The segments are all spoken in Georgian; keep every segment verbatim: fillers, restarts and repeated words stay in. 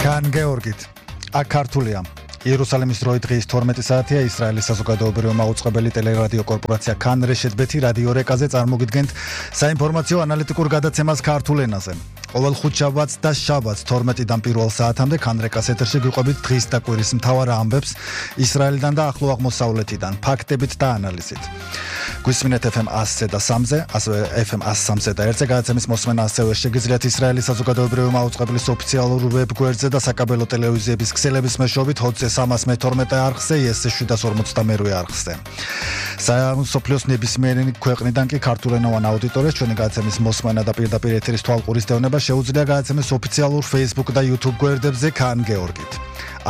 კან გეორგით, აქ ქართულია. იერუსალიმის დროით დღის თორმეტი საათია ისრაელის საზოგადოებრივი მაუწყებელი ტელერადიო კორპორაცია კან რეშეთ ბეთი რადიო რეკაზე წარმოგიდგენთ საინფორმაციო ანალიტიკურ გადაცემას ქართულ ენაზე. ყოველ ხუთშაბათს და შაბათს თორმეტიდან პირველ საათამდე კან რეკას ეთერში გიყვებით დღის და კვირის მთავარ ამბებს ისრაელიდან და ახლო აღმოსავლეთიდან, ფაქტებით და ანალიზით. გვისმინეთ ეფ ემ ასზე და სამზე, ასევე ეფ ემ ას სამზე და ერთზე გადაცემის მოსმენა ასევე შეგიძლიათ ისრაელის საზოგადოებრივი მაუწყებლის ოფიციალურ ვებ-გვერდზე და საკაბელო ტელევიზიების ქსელების მეშვეობით ჰოტზე სამას მეთორმეტე არხზე, იეს შვიდას ორმოცდამერვე არხზე. მსოფლიოს ნებისმიერი ქვეყნიდან კი ქართულენოვან აუდიტორიას ჩვენი გადაცემის მოსმენა და პირდაპირ ეთერის თვალყურის დევნება შეუძლია გადაცემის ოფიციალურ Facebook და YouTube გვერდებზე კან გეორგით.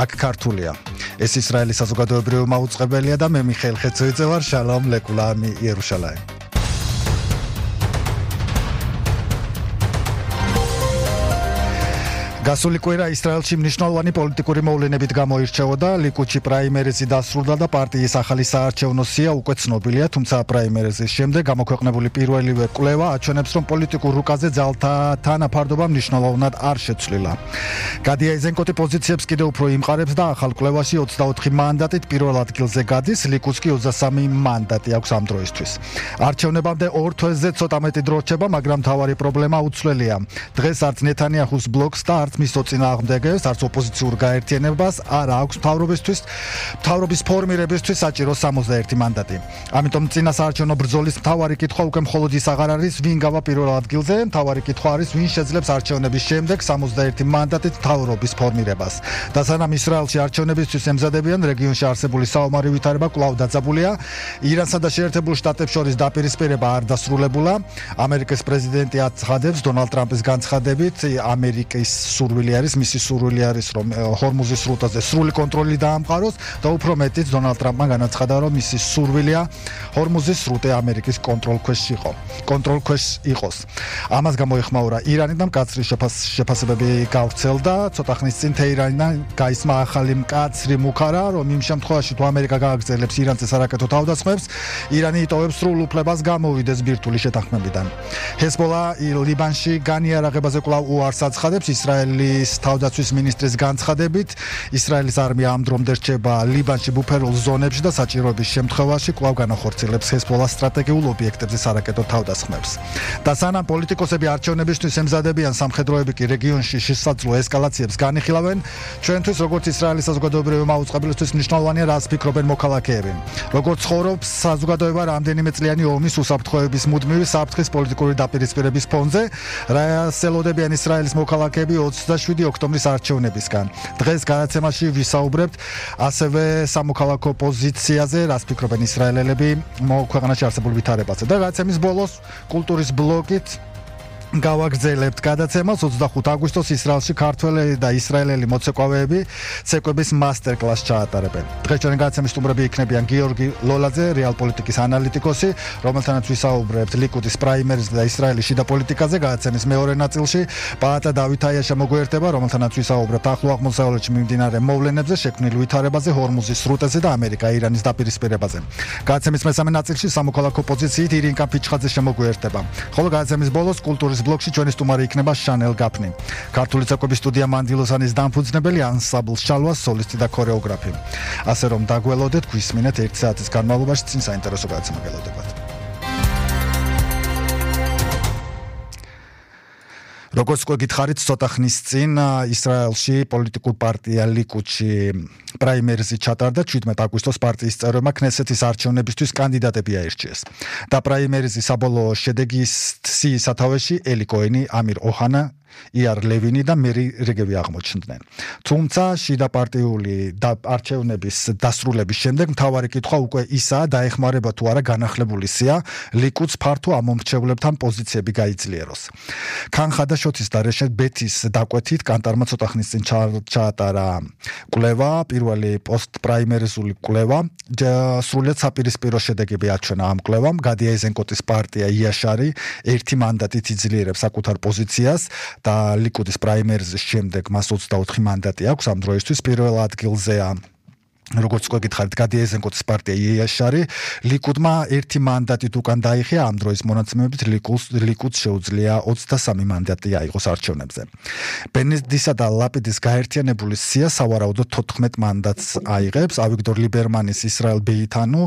აქ ქართულია. ეს ისრაელის საზოგადოებრივი მაუწყებელია და მე მიხეილ ხეცოიძე ვარ. შალომ ლეკულამი იერუშალაიმ. გასული კვირა ისრაელში მნიშვნელოვანი პოლიტიკური მოვლენებით გამოირჩეოდა. ლიკუდში პრაიმერიზი დასრულდა და პარტიის ახალი საარჩევნო სია უკვე ცნობილია, თუმცა პრაიმერიზის შემდეგ გამოქვეყნებული პირველივე კვლევა აჩვენებს, რომ პოლიტიკურ რუკაზე ძალთა თანაფარდობა მნიშვნელოვნად არ შეცვლილა. გადი აიზენკოტი პოზიციებს კიდევ უფრო იმყარებს და ახალ კვლევაში ოცდაოთხი მანდატით პირველ ადგილზე გადის, ლიკუდს კი ოცდასამი მანდატი აქვს ამ დროისთვის. არჩევნებამდე ორ თვეზე ცოტა მეტი დრო რჩება, მაგრამ მთავარი პრობლემა უცვლელია. დღეს არც ნეთანიაჰუს ბლოკს და არც მის წინააღმდეგებს, არც ოპოზიციურ გაერთიანებას არ აქვს მთავრობისთვის, მთავრობის ფორმირებისთვის საჭირო სამოცდაერთი მანდატი. ამიტომ წინა საარჩევნო ბრძოლის მთავარი კითხვა უკვე მხოლოდ ის აღარ არის, ვინ გავა პირველ ადგილზე, მთავარი კითხვა არის, ვინ შეძლებს არჩევნების შემდეგ სამოცდაერთი მანდატით მთავრობის ფორმირებას. და სანამ ისრაელში არჩევნებისთვის ემზადებიან, რეგიონში არსებული საომარი ვითარება კვლავ დაძაბულია. ირანსა და შეერთებულ შტატებს შორის დაპირისპირება არ დასრულებულა. ამერიკის პრეზიდენტი აცხადებს დონალდ ტრამპის განცხადებით, ამერიკის სურვილი არის, მისი სურვილი არის, რომ ჰორმუზის სრუტაზე სრული კონტროლი დაამყაროს და უფრო მეტიც დონალდ ტრამპმა განაცხადა, რომ მისი სურვილია ჰორმუზის სრუტე ამერიკის კონტროლქვეშ იყო. კონტროლქვეშ იყოს. ამას გამოიხმაურა ირანი და მკაცრი შეფასებები გავრცელდა. ცოტა ხნის წინ თეირანიდან გაისმა ახალი მკაცრი მუქარა, რომ იმ შემთხვევაში თუ ამერიკა გააგრძელებს ირანზე სარაკეტო თავდასხმებს, ირანი იტოვებს სრულ უფლებას გამოვიდეს ბირთვული შეთანხმებიდან. ჰეზბოლა ლიბანში განიარაღებაზე კვლავ უარს აცხადებს. ისრაელის თავდაცვის მინისტრის განცხადებით, ისრაელის არმია ამ დრომდე რჩება ლიბანში ბუფერულ ზონებში და საჭიროების შემთხვევაში კვლავ განახორციელებს ჰეზბოლას სტრატეგიულ ობიექტებზე სარაკეტო თავდასხმებს. და სანამ პოლიტიკოსები არჩევნებისთვის ემზადებიან, სამხედროები კი რეგიონში შესაძლო ესკალაციებს განიხილავენ, ჩვენთვის როგორც ისრაელის საზოგადოებრივი მაუწყებლისთვის მნიშვნელოვანია, რას ფიქრობენ მოქალაქეები. როგორც ცხოვრობს საზოგადოება რამდენიმე წლიანი ომის უსაფრთხოების მუდმივი საფრთხის პოლიტიკური დაპირისპირების ფონზე, რასაც ელოდებიან ისრაელის მოქალაქეები ოცდაშვიდი ოქტომბრის არჩევნებისგან. დღეს გადაცემაში ვისაუბრებთ ასევე სამოქალაქო პოზიციაზე, რას ფიქრობენ ისრაელელები ქვეყანაში არსებულ ვითარებაზე. და გადაცემის ბოლოს კულტურის ბლოკით გავაგრძელებთ გადაცემას. ოცდახუთი აგვისტოს ისრაელში ქართველი და ისრაელელი მოცეკვავეები ცეკვების მასტერკლასს ჩაატარებენ. დღეს ჩვენი გადაცემის სტუმრები იქნებიან გიორგი ლოლაძე, რეალ პოლიტიკის ანალიტიკოსი, რომელთანაც ვისაუბრებთ ლიკუდის პრაიმერიზ და ისრაელის შიდა პოლიტიკაზე. გადაცემის მეორე ნაწილში პაატა დავით აიაშა მოგვიერთება, რომელთანაც ვისაუბრებთ ახლო აღმოსავლეთში მიმდინარე მოვლენებზე, შექმნილ ვითარებაზე, ჰორმუზის სრუტეზე და ამერიკა-ირანის დაპირისპირებაზე. გადაცემის მესამე ნაწილში სამოქალაქო პოზიციით ირინკა ფიჩხაძე შემოგვიერთება. ხოლო გადაცემის ბოლოს კულტურის ბლოკში ჩვენი სტუმარი იქნება შანელ გაფნი. ქართული ცეკვების სტუდია მანდილოსანის დამფუძნებელი, ანსამბლ შალვას სოლისტი და ქორეოგრაფი. ასე რომ დაგველოდეთ, გვისმინეთ ერთი საათის განმავლობაში, წინ საინტერესო გადაცემა გელოდებათ. როგორც უკვე გითხარით, ცოტა ხნის წინ ისრაელში პოლიტიკურ პარტია ლიკუდში პრაიმერიზი ჩატარდა. შვიდმეტი აგვისტოს პარტიის წევრებმა ქნესეთის არჩევნებისთვის კანდიდატები აირჩიეს. და პრაიმერიზის საბოლოო შედეგის სიის სათავეში ელი კოენი, ამირ ოჰანა, იარ ლევინი და მერი რეგევი აღმოჩნდნენ. თუმცა შიდა პარტიული არჩევნების დასრულების შემდეგ მთავარი კითხვა უკვე ისაა, დაეხმარება თუ არა განახლებული სია ლიკუდს ფართო ამომრჩევლებთან პოზიციები გაიძლიეროს. კან ხადაშოთის და რეშეთ ბეთის დაკვეთით კანტარმა ცოტა ხნის წინ ჩაატარა კვლევა, პირველი პოსტ-პრაიმერიზული კვლევა. სრულიად საპირისპირო შედეგები აჩვენა ამ კვლევამ. გადი აიზენკოტის პარტია იაშარი ერთი მანდატით იძლიერებს საკუთარ პოზიციას. და ლიკუდის პრაიმერიზის შემდეგ მას ოცდაოთხი მანდატი აქვს. ამ დროისთვის პირველ ადგილზეა როგორც უკვე გითხარით, გადი ეზენკოტის პარტია იეაშარი ლიკუდმა ერთი მანდატით უკან დაიხია ამ დროის მონაცემებით ლიკუდს შეუძლია ოცდასამი მანდატი აიღოს არჩევნებზე. ბენედისა და ლაპიდის გაერთიანებული სია სავარაუდოდ თოთხმეტ მანდატს აიღებს, ავიგდორ ლიბერმანის ისრაელ ბეითანუ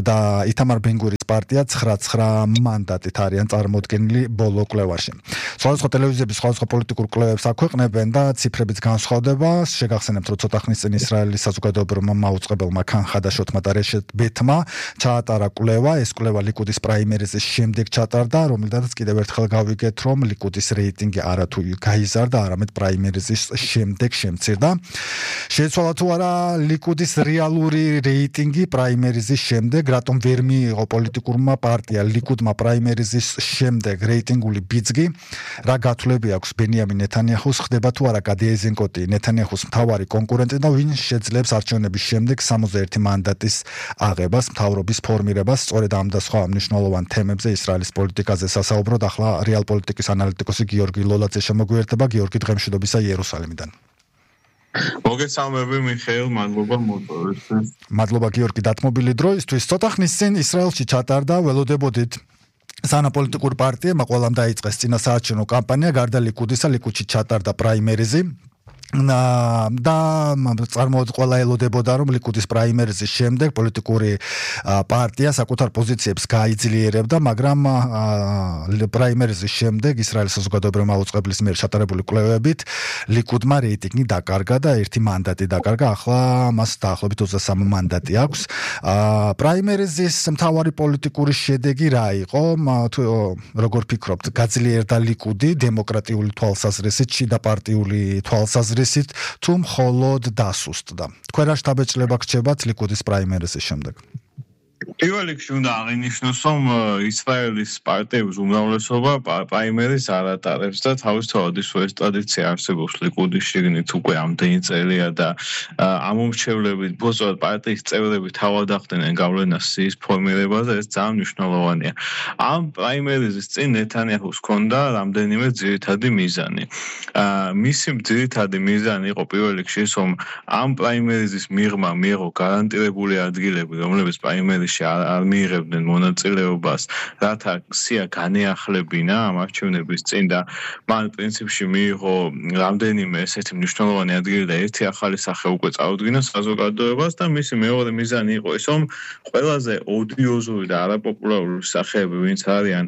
და ითამარ ბენ-გურიის პარტია ცხრა მანდატით არიან წარმოდგენილი ბოლო კვლევაში. სხვადასხვა ტელევიზიების სხვადასხვა პოლიტიკურ კვლევებს აქვეყნებენ და ციფრებიც განსხვავდება. შეგახსენებთ, რომ ცოტა ხნის წინ ისრაელის საზოგადოებრივმა მაუწყებელმა ქან ხადაშოთმა და რეშეთ ბეთმა ჩაატარა კვლევა. ეს კვლევა ლიკუდის პრაიმერიზის შემდეგ ჩატარდა, რომლიდანაც კიდევ ერთხელ გავიგეთ, რომ ლიკუდის რეიტინგი არათუ გაიზარდა, არამედ პრაიმერიზის შემდეგ შემცირდა. შეცვალა თუ არა ლიკუდის რეალური რეიტინგი პრაიმერიზის შემდეგ, რატომ ვერ მიიღო პოლიტიკურმა პარტია ლიკუდმა პრაიმერიზის შემდეგ რეიტინგული ბიძგი, რა გათვლები აქვს ბენიამინ ნეთანიაჰუს, ხდება თუ არა გადი ეზენკოტი ნეთანიაჰუს მთავარი კონკურენტი და ვინ შეძლებს არჩევნების შემდეგ სამოცდაერთი მანდატის აღებას, მთავრობის ფორმირებას. სწორედ ამ და სხვა მნიშვნელოვან თემებზე ისრაელის პოლიტიკაზე სასაუბროდ ახლა რეალ პოლიტიკის ანალიტიკოსი გიორგი ლოლაძე შემოგვიერთება. გიორგი, დღემშვიდობისა იერუსალიმიდან. მოგესალმები მიხეილ, მადლობა მოწვევისთვის. მადლობა გიორგი დათმობილი დროისთვის. ცოტა ხნის წინ ისრაელში ჩატარდა, ველოდებოდით სანაპოლიტიკურ პარტიებმა ყველამ დაიწყეს წინასაარჩევნო კამპანია, გარდა ლიკუდისა, ლიკუდში ჩატარდა პრაიმერიზი. და წარმოუდგენლად ყველა ელოდებოდა, რომ ლიკუდის პრაიმერიზის შემდეგ პოლიტიკური პარტია საკუთარ პოზიციებს გაიძლიერებდა, მაგრამ პრაიმერიზის შემდეგ ისრაელის საზოგადოებრივი მაუწყებლის მიერ ჩატარებული კვლევებით ლიკუდმა რეიტინგი დაკარგა და ერთი მანდატი დაკარგა. ახლა მას დაახლოებით ოცდასამი მანდატი აქვს. პრაიმერიზის მთავარი პოლიტიკური შედეგი რა იყო? როგორ ფიქრობთ, გაძლიერდა ლიკუდი დემოკრატიული თვალსაზრისით, შიდა პარტიული თვალსაზრისით თუ მხოლოდ დასუსტდა? თქვენ რა შთაბეჭდილება გრჩებათ ლიკუდის პრაიმერიზის შემდეგ? პირველ რიგში უნდა აღინიშნოს, რომ ისრაელის პარტიების უმრავლესობა პრაიმერიზს არ ატარებს და თავისთავად ის ეს ტრადიცია არსებობს ლიკუდის შიგნით უკვე ამდენი წელია და ამომრჩევლებით ბოსტად პარტიის წევრები თავად ახდენენ გავლენას სიის ფორმირებაზე, ეს ძალიან მნიშვნელოვანია. ამ პრაიმერიზის წინ ნეთანიაჰუს ჰქონდა რამდენიმე ძირითადი მიზანი. მისი ძირითადი მიზანი იყო პირველ რიგში ის, რომ ამ პრაიმერიზის მიღმა მიიღო გარანტირებული ადგილები, რომლებიც პრაიმერიზში არ მიიღებდნენ მონაწილეობას, რათა სია განეახლებინა ამ არჩევნების წინ და მან პრინციპში მიიღო რამდენიმე ესეთი მნიშვნელოვანი ადგილი და ერთი ახალი სახე უკვე წარუდგინა საზოგადოებას და მისი მეორე მიზანი იყო ის, რომ ყველაზე ოდიოზური და არაპოპულარული სახეები, ვინც არიან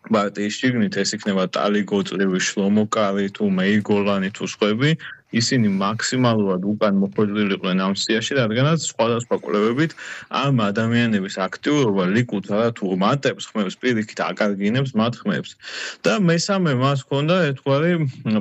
პარტიის შიგნით, ეს იქნება ტალი გოწლივი, შლომო კარი თუ მეირ გოლანი თუ სხვები, ისინი მაქსიმალურად უკან მოხვედრილიყვნენ ამ სიაში, რადგანაც სხვადასხვა კვლევებით ამ ადამიანების აქტიურობა ლიკუდს არათუ მატებს ხმებს, პირიქით აკარგინებს მათ ხმებს. და მესამე მას ჰქონდა ერთგვარი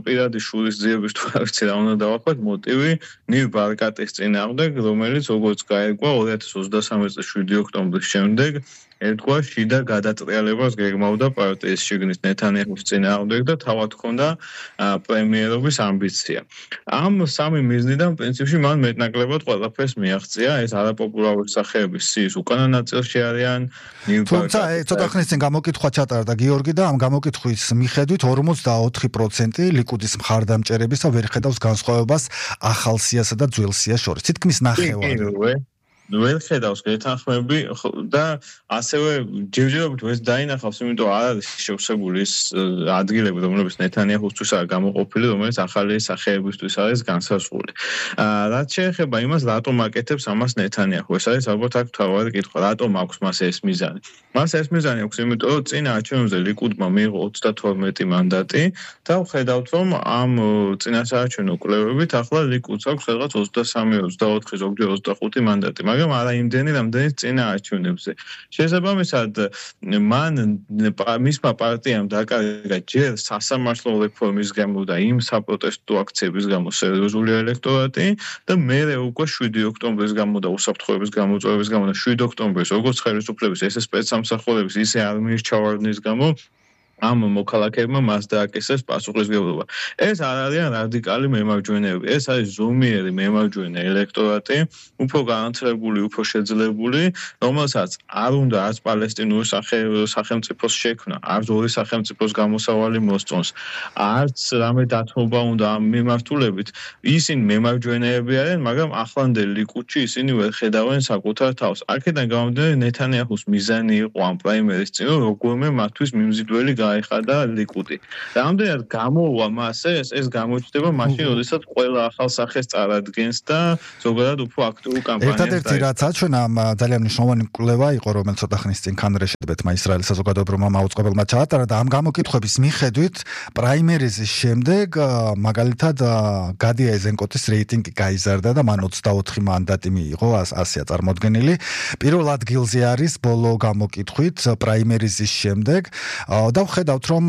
პირადი შურისძიების თუ არ ვიცი რა უნდა დავახვათ მოტივი ნივ ბარკატის წინააღმდეგ, რომელიც როგორც გაირკვა ორი ათას ოცდასამი წლის შვიდი ოქტომბრის შემდეგ ერთგვარ შიდა გადატრიალებას გეგმავდა პარტიის შიგნით ნეთანიაჰუს წინააღმდეგ და თავად ჰქონდა პრემიერობის ამბიცია. ამ სამი მიზნიდან პრინციპში მან მეტნაკლებად ყველაფერს მიაღწია. ეს არაპოპულარული სახეების სიის უკანა ნაწილში არიან. თუმცა ცოტა ხნის წინ გამოკითხვა ჩატარდა გიორგი და ამ გამოკითხვის მიხედვით ორმოცდაოთხი პროცენტი ლიკუდის მხარდამჭერების და ვერ ხედავს განსხვავებას ახალ სიასა და ძველ სიას შორის. თითქმის ნახევარი. ვერ ხედავს გეთანხმები და ასევე ჯერჯერობით ეს დაინახავს, იმიტომ არ არის შევსებული ის ადგილები, რომლებიც ნეთანიაჰუსთვის არ გამოყოფილი, რომელიც ახალი სახეებისთვის არის განსაზღვრული. რაც შეეხება იმას, რატომ აკეთებს ამას ნეთანიაჰუ, ეს არის ალბათ აქ მთავარი კითხვა, რატომ აქვს მას ეს მიზანი? მას ეს მიზანი აქვს, იმიტომ რომ წინა არჩევნებზე ლიკუდმა მიიღო ოცდათორმეტი მანდატი და ვხედავთ, რომ ამ წინასაარჩევნო კვლევებით ახლა ლიკუდს აქვს რაღაც ოცდასამი, ოცდაოთხი, ზოგჯერ ოცდახუთი მანდატი. მაგრამ არა იმდენი, რამდენიც წინა არჩევნებზე. შესაბამისად, მან მისმა პარტიამ დაკარგა ჯერ სასამართლო რეფორმის გამო და იმ საპროტესტო აქციების გამო სერიოზული ელექტორატი და მერე უკვე შვიდი ოქტომბრის გამო და უსაფრთხოების გამოწვევების გამო და შვიდი ოქტომბრის როგორც ხელისუფლების ესე სპეცსამსახურების ისე არმიის ჩავარდნის გამო ამ მოქალაქეებმა მას დააკისრეს პასუხისმგებლობა. ეს არ არიან რადიკალი მემარჯვენეები, ეს არის ზომიერი მემარჯვენე ელექტორატი, უფრო განათლებული, უფრო შეძლებული, რომელსაც არ უნდა არც პალესტინური სახელმწიფოს შექმნა, არც ორი სახელმწიფოს გამოსავალი მოსწონს, არც რამე დათმობა უნდა ამ მიმართულებით. ისინი მემარჯვენეები არიან, მაგრამ ახლანდელ ლიკუდში ისინი ვერ ხედავენ საკუთარ თავს. აქედან გამომდინარე, ნეთანიაჰუს მიზანი იყო ამ პრაიმერის წინ, როგორმე მათთვის მიმზიდველი გაიხადა ლიკუდი. რამდენად გამოვა მას ეს, ეს გამოჩნდება მაშინ, როდესაც ყველა ახალ სახეს წარადგენს და ზოგადად უფრო აქტიურ კამპანიას. ერთადერთი რაც აჩვენ ამ ძალიან მნიშვნელოვანი კვლევა იყო, რომელიც ცოტა ხნის წინ კანგრესშეთმა ისრაელის საზოგადოებრივმა მაუწყებელმა ჩაატარა და ამ გამოკითხვების მიხედვით პრაიმერიზის შემდეგ მაგალითად გადი აიზენკოტის რეიტინგი გაიზარდა და მან ოცდაოთხი მანდატი მიიღო, ასია წარმოდგენილი. პირველ ადგილზე არის ბოლო გამოკითხვით პრაიმერიზის შემდეგ და ვხედავთ, რომ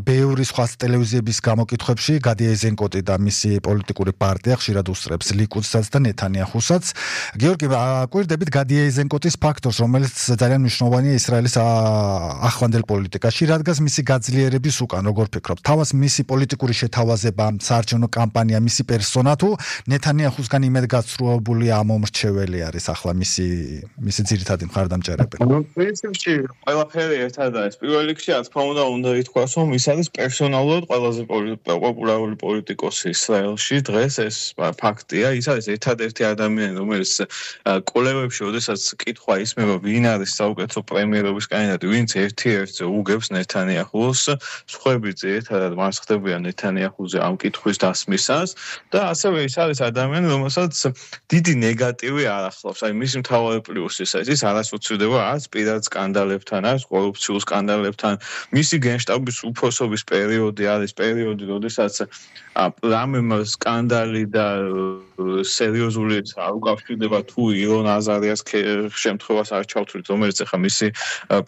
ბევრი სხვა ტელევიზიების გამოკითხვებში გადი აიზენკოტი და მისი პოლიტიკური პარტია ხშირად უსწრებს ლიკუდსაც და ნეთანიაჰუსაც. გიორგი, კვირდებით გადი აიზენკოტის ფაქტორს, რომელიც ძალიან მნიშვნელოვანია ისრაელის ახლანდელ პოლიტიკაში, რადგან მისი გაძლიერების უკან, როგორ ფიქრობთ, თავას მისი პოლიტიკური შეთავაზება, საარჩევნო კამპანია, მისი პერსონა თუ ნეთანიაჰუსგან იმედგაცრუებული ამომრჩეველი არის ახლა მისი მისი ძირითადი მხარდამჭერები? პრინციპში ყველაფერი ერთად არის. პირველ რიგში, რა თქმა უნდა, უნდა ითქვას, რომ ის არის პერსონალურად ყველაზე პოპულარული პოლიტიკოსი ისრაელში დღეს, ეს ფაქტია. ის არის ერთადერთი ადამიანი, რომელიც კვლევებში, როდესაც კითხვა ისმება, ვინ არის საუკეთესო პრემიერობის კანდიდატი, ვინც ერთ-ერთზე უგებს ნეთანიაჰუს, სხვები ერთადად მას ხდებიან ნეთანიაჰუზე ამ კითხვის დასმისას და ასევე ის არის ადამიანი, რომელსაც დიდი ნეგატივი არ ახლავს. აი მისი მთავარი პლუსი ის არის, ის არ ასოცირდება არც პირად სკანდალებთან, არც კორუფციულ სკანდალებთან. მისი გენშტაბის უფროსობის პერიოდი არის პერიოდი, როდესაც რამე სკანდალი და სერიოზული არ უკავშირდება თუ ილონ აზარიას შემთხვევას არ ჩავთვლით, რომელიც ახლა მისი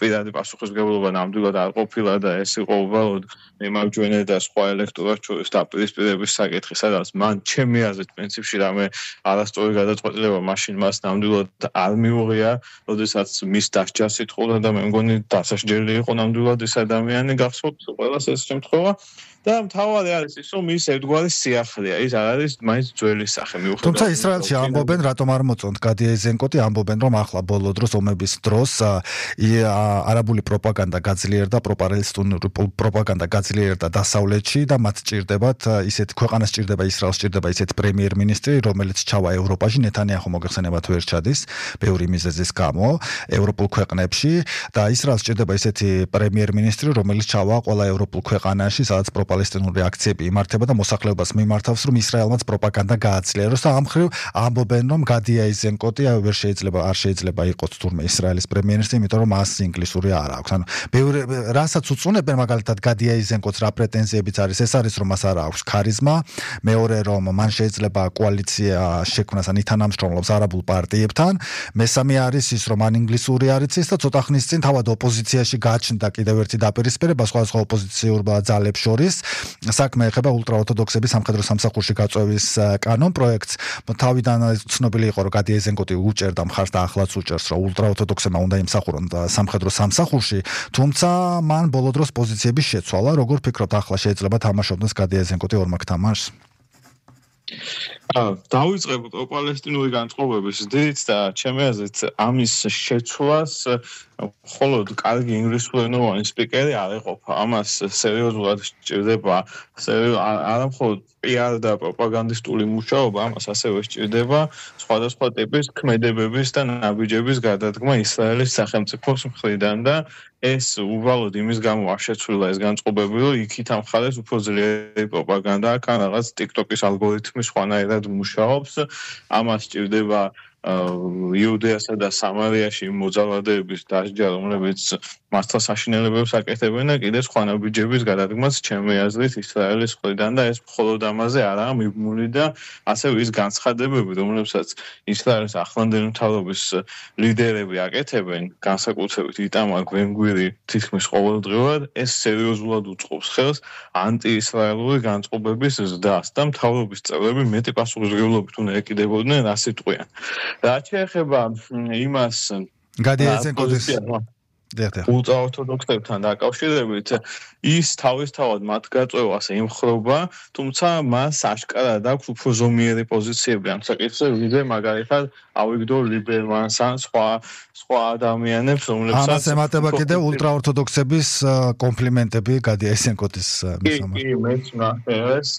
პირადი პასუხისმგებლობა ნამდვილად არ ყოფილა და ეს იყო უბრალოდ მემარჯვენე და სხვა ელექტორატ შორის დაპირისპირების საკითხი, სადაც მან ჩემი აზრით პრინციპში რამე არასწორი გადაწყვეტილება მაშინ მას ნამდვილად არ მიუღია, როდესაც მის დასჯას ითხოვდა და მე მგონი დასაჯელი იყო ნამდვილად ეს ადამიანი, გახსოვთ ყველას ეს შემთხვევა. და მთავარი არის ის, რომ ის ერთგვარი სიახლეა, ის არ არის მაინც ძველი სახე მიუხედავად. თუმცა ისრაელში ამბობენ, რატომ არ მოწონთ გადი აიზენკოტი, ამბობენ, რომ ახლა ბოლო დროს ომების დროს არაბული პროპაგანდა გაძლიერდა, პროპაგანდისტული პროპაგანდა გაძლიერდა დასავლეთში და მათ სჭირდებათ ისეთ ქვეყანას სჭირდება ისრაელს სჭირდება ისეთ პრემიერ-მინისტრი, რომელიც ჩავა ევროპაში, ნეთანიაჰუ მოგეხსენებათ ვერ ჩადის, ბევრი მიზეზის გამო ევროპულ ქვეყნებში და ისრაელს სჭირდება ისეთი პრემიერ-მინისტრი, რომელიც ჩავა ყველა ევროპულ ქვეყანაში, სადაც პალესტინური აქციები იმართება და მოსახლეობას მიმართავს, რომ ისრაელმაც პროპაგანდა გააძლიეროს და ამ ხრივ ამბობენ, რომ გადი აიზენკოტი ვერ შეიძლება არ შეიძლება იყოს თურმე ისრაელის პრემიერ-მინისტრი, იმიტომ რომ მას ინგლისური არ აქვს. ანუ ბევრი რასაც უწუნებენ მაგალითად გადი აიზენკოტს რა პრეტენზიებიც არის, ეს არის რომ მას არ აქვს ქარიზმა, მეორე რომ მან შეიძლება კოალიცია შექმნას ან ითანამშრომლობს არაბულ პარტიებთან, მესამე არის ის რომ მან ინგლისური არ იცის და ცოტა ხნის წინ თავად ოპოზიციაში გაჩნდა კიდევ ერთი დაპირისპირება სხვადასხვა ოპოზიციურ ძალებს შორის. საქმე ეხება ულტრაორთოდოქსების სამხედრო სამსახურში გაწვევის კანონ პროექტს. თავიდან ცნობილი იყო, რომ გადი აიზენკოტი უჭერდა მხარს და ახლაც უჭერს, რომ ულტრაორთოდოქსებმა უნდა იმსახურონ სამხედრო სამსახურში, თუმცა მან ბოლო დროს პოზიციები შეცვალა. როგორ ფიქრობთ, ახლა შეიძლება თამაშობდეს გადი აიზენკოტი ორმაგ თამაშს? დავიწყებ პალესტინური განწყობების დიდ და ჩემი აზრით ამის შეცვლას მხოლოდ კარგი ინგლისურენოვანი სპიკერი არ ეყოფა. ამას სერიოზულად სჭირდება არა მხოლოდ პიარ და პროპაგანდისტული მუშაობა, ამას ასევე სჭირდება სხვადასხვა ტიპის ქმედებების და ნაბიჯების გადადგმა ისრაელის სახელმწიფოს მხრიდან და ეს უბრალოდ იმის გამო არ შეცვლილა ეს განწყობები, რომ იქით ამ ხალხს უფრო ძლიერი პროპაგანდა აქვს, ან რაღაც TikTok-ის ალგორითმი სხვანაირად მუშაობს. ამას სჭირდება იუდეასა და სამარიაში მოძალადეების დასჯა, რომლებიც მასთან საშინელებებს აკეთებენ და კიდე სხვა ნაბიჯების გადადგმას ჩემი აზრით ისრაელის მხრიდან და ეს მხოლოდ ამაზე არაა მიბმული და ასევე ის განცხადებები, რომლებსაც ისრაელის ახლანდელი მთავრობის ლიდერები აკეთებენ, განსაკუთრებით იტამარ ბენ-გვირი თითქმის ყოველდღიურად, ეს სერიოზულად უწყობს ხელს ანტიისრაელური განწყობების ზრდას და მთავრობის წევრები მეტი პასუხისმგებლობით უნდა ეკიდებოდნენ რას იტყვიან. რაც შეეხება იმას გადი აიზენკოტის ულტრაორთოდოქსებთან დაკავშირებით ის თავისთავად მათ გაწევას ემხრობა, თუმცა მას აშკარად აქვს უფრო ზომიერი პოზიციები ამ საკითხზე, ვიდრე მაგალითად ავიგდორ ლიბერმანს ან სხვა სხვა ადამიანებს, რომლებსაც ამას ემატება კიდევ ულტრაორთოდოქსების კომპლიმენტები გადი აისენკოტის მისამართი. კი, მეც ნახეს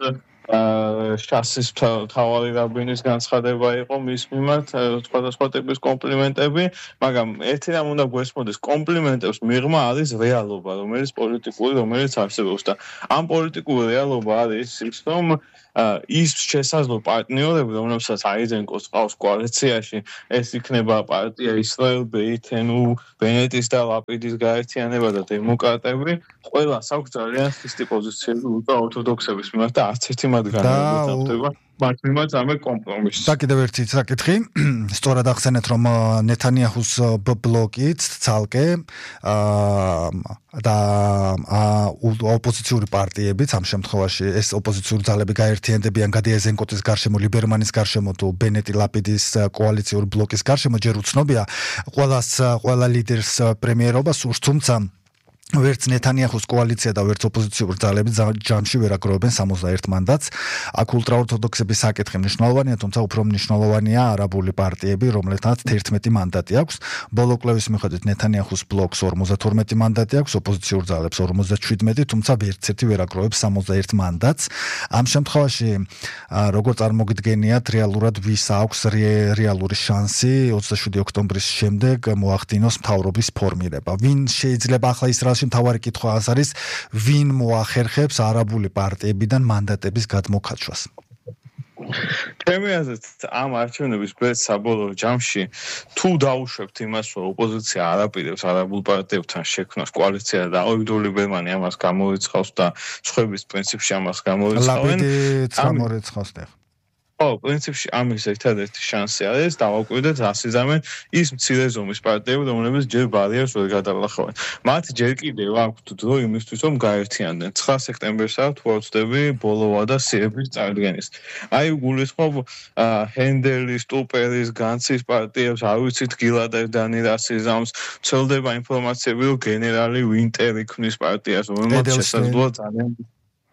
შასის თავარი რაბინის განცხადება იყო მის მიმართ სხვადასხვა ტიპის კომპლიმენტები, მაგრამ ერთი რამ უნდა გვესმოდეს, კომპლიმენტებს მიღმა არის რეალობა, რომელიც პოლიტიკური, რომელიც არსებობს და ამ პოლიტიკური რეალობა არის ის, რომ ის შესაძლო პარტნიორები, რომლებსაც აიზენკოს ყავს კოალიციაში, ეს იქნება პარტია ისრაელ ბეითენუ, ბენეტის და ლაპიდის გაერთიანება და დემოკრატები, ყველას აქვს ძალიან ხისტი პოზიციები ულტრაორთოდოქსების მიმართ და არც ერთი მათგანი არ მოხდება მათ მიმართ ამე კომპრომისი. და კიდევ ერთი საკითხი, სწორად ახსენეთ, რომ ნეთანიაჰუს ბლოკიც ცალკე და ოპოზიციური პარტიებიც ამ შემთხვევაში ეს ოპოზიციური ძალები გაერთიანდებიან გადი აიზენკოტის გარშემო, ლიბერმანის გარშემო თუ ბენეტი ლაპიდის კოალიციური ბლოკის გარშემო, ჯერ უცნობია ყველას ყველა ლიდერს პრემიერობა სურს, თუმცა ვერც ნეთანიაჰუს კოალიცია და ვერც ოპოზიციური ძალები ჯამში ვერ აგროვებენ სამოცდაერთ მანდატს. აქ ულტრაორთოდოქსების საკითხი მნიშვნელოვანია, თუმცა უფრო მნიშვნელოვანია არაბული პარტიები, რომლეთაც თერთმეტი მანდატი აქვს. ბოლო კვლევის მიხედვით ნეთანიაჰუს ბლოკს ორმოცდათორმეტი მანდატი აქვს, ოპოზიციურ ძალებს ორმოცდაშვიდმეტი, თუმცა ვერც ერთი ვერ აგროვებს სამოცდაერთ მანდატს. ამ შემთხვევაში როგორ წარმოგიდგენიათ რეალურად ვის აქვს რეალური შანსი ოცდაშვიდი ოქტომბრის შემდეგ მოახდინოს მთავრობის ფორმირება? ვინ შეიძლება ახლა ისრაელში მთავარი კითხვა არის, ვინ მოახერხებს არაბული პარტიებიდან მანდატების გადმოქცევას? ჩემი აზრით, ამ არჩევნების ბეჭდ საბოლოო ჯამში თუ დაუშვებთ იმას, რომ ოპოზიცია არ აპირებს არაბულ პარტიებთან შექმნას კოალიცია და ავიგდორ ლიბერმანი ამას გამოიცხავს და სხვების პრინციპში ამას გამოიცხავენ. ლაპიდიც გამოიცხავს და ო, პრინციპში ამის ერთადერთი შანსი არის დავაკვირდეთ ასიზამენ ის მცირე ზომის პარტიები, რომლებიც ჯერ ბარიერს ვერ გადალახავენ. მათ ჯერ კიდევ აქვთ დრო იმისთვის, რომ გაერთიანდნენ. ცხრა სექტემბერს აქვს თუ არ ვცდები ბოლოვა და სიების წარდგენის. აი გულისხმობ ჰენდელის, ტუპერის, განცის პარტიებს, არ ვიცით გილადებს, დანილ ასიზამს, ცელდება ინფორმაციები, რომ გენერალი ვინტერი ქმნის პარტიას, რომელმაც შესაძლოა ძალიან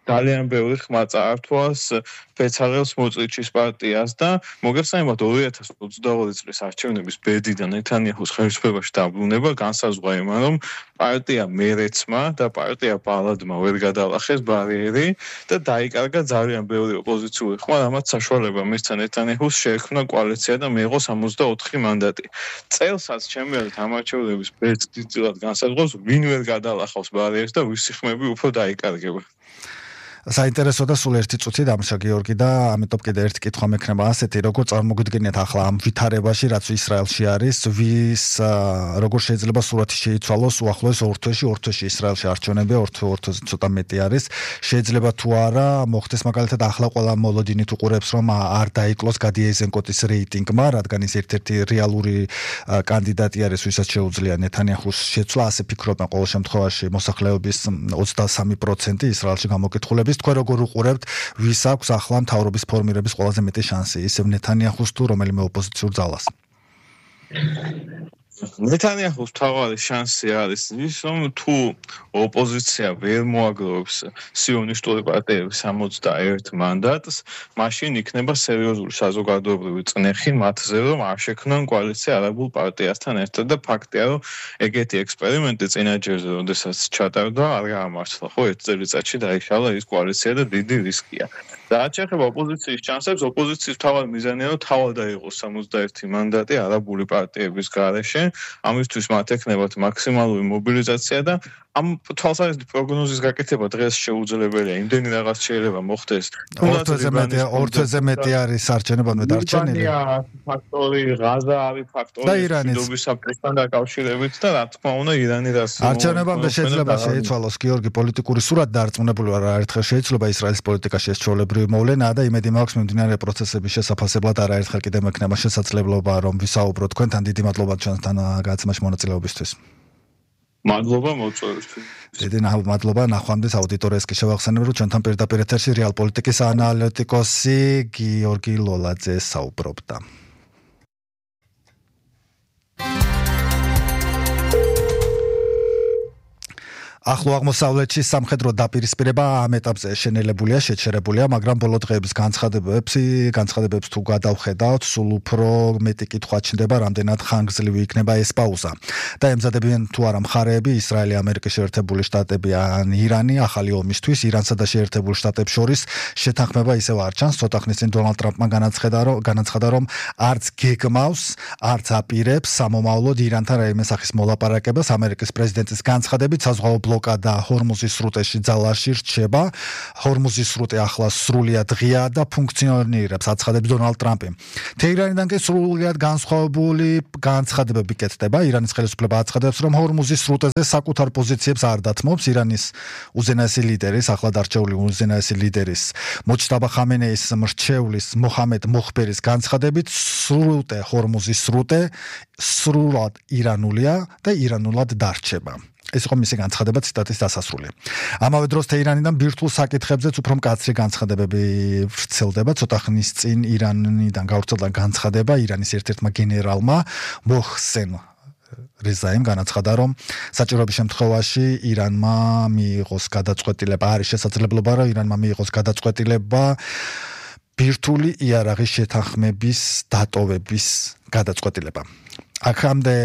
ძალიან ბევრი ხმა წაართვას ფეცალელს მოწრიჩის პარტიას და მოგეხსენებათ ორი ათას ოცდაორი წლის არჩევნების ბედიდან ნეთანიაჰუს ხელისუფლებაში დაბრუნება განსაზღვრა იმან, რომ პარტია მერეცმა და პარტია ბალადმა ვერ გადალახეს ბარიერი და დაიკარგა ძალიან ბევრი ოპოზიციური ხმა, რამაც საშუალება მისცა ნეთანიაჰუს შეექმნა კოალიცია და მიიღო სამოცდაოთხი მანდატი. წელსაც ჩემი აზრით ამ არჩევნების ბედს დიდწილად განსაზღვრავს, ვინ ვერ გადალახავს ბარიერს და ვისი ხმები უფრო დაიკარგება. საინტერესო და სულ ერთი წუთი დამშა გიორგი და ამიტომ კიდე ერთი კითხვა მექნება ასეთი, როგორ წარმოგიდგენიათ ახლა ამ ვითარებაში, რაც ისრაელში არის, ვის როგორ შეიძლება სურათი შეიცვალოს უახლოეს ორ თვეში, ორ თვეში ისრაელში არჩევნებია, ორ თვეზე ცოტა მეტი არის. შეიძლება თუ არა მოხდეს მაგალითად ახლა ყველა მოლოდინით უყურებს, რომ არ დაიკლოს გადი აიზენკოტის რეიტინგმა, რადგან ის ერთ-ერთი რეალური კანდიდატი არის, ვისაც შეუძლია ნეთანიაჰუს შეცვლა, ასე ფიქრობენ ყოველ შემთხვევაში მოსახლეობის ოცდასამი პროცენტი ისრაელში გამოკითხულების. თქვენ როგორ უყურებთ, ვის აქვს ახლა მთავრობის ფორმირების ყველაზე მეტი შანსი, ისევ ნეთანიაჰუს თუ რომელიმე ოპოზიციურ ძალას? ნეთანიაჰუს მთავარი შანსი არის ის, რომ თუ ოპოზიცია ვერ მოაგროვებს სიონისტური პარტიების სამოცდაერთ მანდატს, მაშინ იქნება სერიოზული საზოგადოებრივი წნეხი მათზე, რომ არ შექმნან კოალიცია არაბულ პარტიასთან ერთად და ფაქტია, რომ ეგეთი ექსპერიმენტი წინა ჯერზე, როდესაც ჩატარდა, არ გაამართლა. ხო, ერთ წელიწადში დაიშალა ის კოალიცია და დიდი რისკია. და რაც შეეხება ოპოზიციის შანსებს, ოპოზიციის მთავარი მიზანია, რომ თავად აიღოს სამოცდაერთი მანდატი არაბული პარტიების გარეშე. ამისთვის მათ ექნებათ მაქსიმალური მობილიზაცია და ამ თვალსაზრისით პროგნოზის გაკეთება დღეს შეუძლებელია. იმდენი რაღაც შეიძლება მოხდეს. ორ თვეზე მეტი, ორ თვეზე მეტი არის არჩევნებამდე დარჩენილი. ფაქტორი, ღაზა არის ფაქტორი, მშვიდობის საფრთხესთან დაკავშირებით და რა თქმა უნდა ირანი რას არჩევნებამდე შეიძლება შეიცვალოს გიორგი პოლიტიკური სურათი დაარწმუნებული ვარ, არაერთხელ შეიცვლება ისრაელის პოლიტიკაში ეს ჩვეულებრივი მოვლენაა და იმედი მაქვს მიმდინარე პროცესების შესაფასებლად არაერთხელ კიდევ მექნება შესაძლებლობა რომ ვისაუბროთ თქვენთან. დიდი მადლობა ჩვენთან გაცემაში მონაწილეობისთვის. მადლობა მოწვევისთვის. დიდი მადლობა ნახვამდის აუდიტორიას კი შევახსენებ, რომ ჩვენთან პირდაპირ ეთერში რეალ პოლიტიკის ანალიტიკოსი გიორგი ლოლაძე საუბრობდა. ახლო აღმოსავლეთში სამხედრო დაპირისპირება ამ ეტაპზე შენელებულია, შეჩერებულია, მაგრამ ბოლო დღეების განცხადებებს, განცხადებებს თუ გადავხედავთ, სულ უფრო მეტი კითხვა ჩნდება, რამდენად ხანგრძლივი იქნება ეს პაუზა. და ემზადებიან თუ არა მხარეები, ისრაელი, ამერიკის შეერთებული შტატები ან ირანი ახალი ომისთვის, ირანსა და შეერთებულ შტატებს შორის შეთანხმება ისევ არ ჩანს. ცოტა ხნის წინ დონალდ ტრამპმა განაცხადა, რომ განაცხადა, რომ არც გეგმავს, არც აპირებს სამომავლოდ ირანთან რაიმე სახის მოლაპარაკებას. ამერიკის პრეზიდენტის განცხადებით საზღვაო ბლოკადა ჰორმუზის სრუტეში ძალაში რჩება. ჰორმუზის სრუტე ახლა სრულიად ღია და ფუნქციონირებს, აცხადებს დონალდ ტრამპი. თეირანიდან კი სრულიად განსხვავებული განცხადებები კეთდება. ირანის ხელისუფლება აცხადებს, რომ ჰორმუზის სრუტეზე საკუთარ პოზიციებს არ დათმობს. ირანის უზენაესი ლიდერის, ახლად არჩეული უზენაესი ლიდერის მოჯტაბა ხამენეის მრჩევლის მოჰამედ მოხბერის განცხადებით, სრუტე ჰორმუზის სრუტე სრულად ირანულია და ირანულად დარჩება. ეს იყო მისი განცხადება, ციტატის დასასრული. ამავე დროს თეირანიდან ბირთვულ საკითხებზეც უფრო მკაცრი განცხადებები ვრცელდება. ცოტა ხნის წინ ირანიდან გავრცელდა განცხადება ირანის ერთ-ერთმა გენერალმა მოჰსენ რეზაიმ განაცხადა, რომ საჭიროების შემთხვევაში ირანმა მიიღოს გადაწყვეტილება, არის შესაძლებლობა, რომ ირანმა მიიღოს გადაწყვეტილება ბირთვული იარაღის შეთანხმების დატოვების გადაწყვეტილება. აქამდე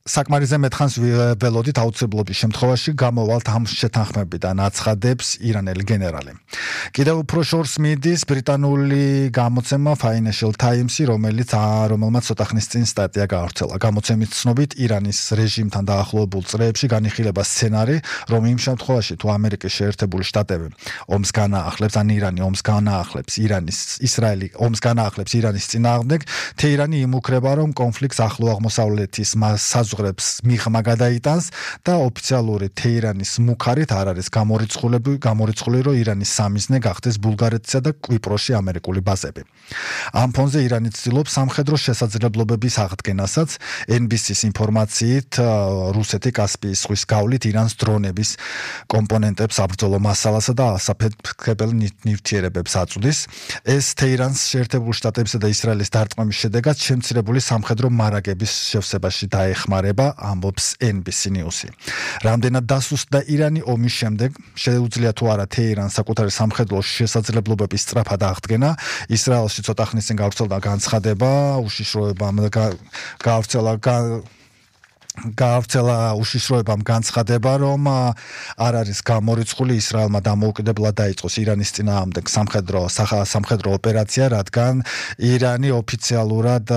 საკმარისზე მეთხანს ველოდით აუცილებლობის შემთხვევაში გამოვალთ ამ შეთანხმებიდან, აცხადებს ირანელი გენერალი. კიდევ უფრო შორს მიდის ბრიტანული გამოცემა Financial Times-ი, რომელიც რომელმაც ცოტა ხნის წინ სტატია გაავრცელა. გამოცემის ცნობით, ირანის რეჟიმთან დაახლოებულ წრეებში განიხილება სცენარი, რომ იმ შემთხვევაში თუ ამერიკის შეერთებული შტატები ომს განაახლებს, ან ირანი ომს განაახლებს, ირანის ისრაელი ომს განაახლებს ირანის წინააღმდეგ, თეირანი იმუქრება, რომ კონფლიქტს ახლო აღმოსავლეთის საზღვრებს მიღმა გადაიტანს და ოფიციალური თეირანის მუქარით არ არის გამორიცხულები, გამორიცხული, რომ ირანის სამიზნე გახდეს ბულგარეთსა და კვიპროსში ამერიკული ბაზები. ამ ფონზე ირანი ცდილობს სამხედრო შესაძლებლობების აღდგენასაც. ენ ბი სი-ის ინფორმაციით, რუსეთი კასპიის ზღვის გავლით ირანს დრონების კომპონენტებს, საბრძოლო მასალასა და ასაფეთქებელ ნივთიერებებს აწვდის. ეს თეირანს შეერთებულ შტატებსა და ისრაელის დარტყმების შედეგად შემცირებული სამხედრო მარაგების შევსებაში დაეხმარება, ამბობს ენ ბი სი News-ი. რამდენად დასუსტდა ირანი ომის შემდეგ, შეუძლია თუ არა თეირანს საკუთარი სამხედრო შესაძლებლობების სწრაფად აღდგენა. ისრაელში ცოტა ხნის წინ გავრცელდა განცხადება, უშიშროებამ გავრცელა გავრცელა უშიშროებამ განცხადება, რომ არ არის გამორიცხული ისრაელმა დამოუკიდებლად დაიწყოს ირანის წინააღმდეგ სამხედრო სამხედრო ოპერაცია, რადგან ირანი ოფიციალურად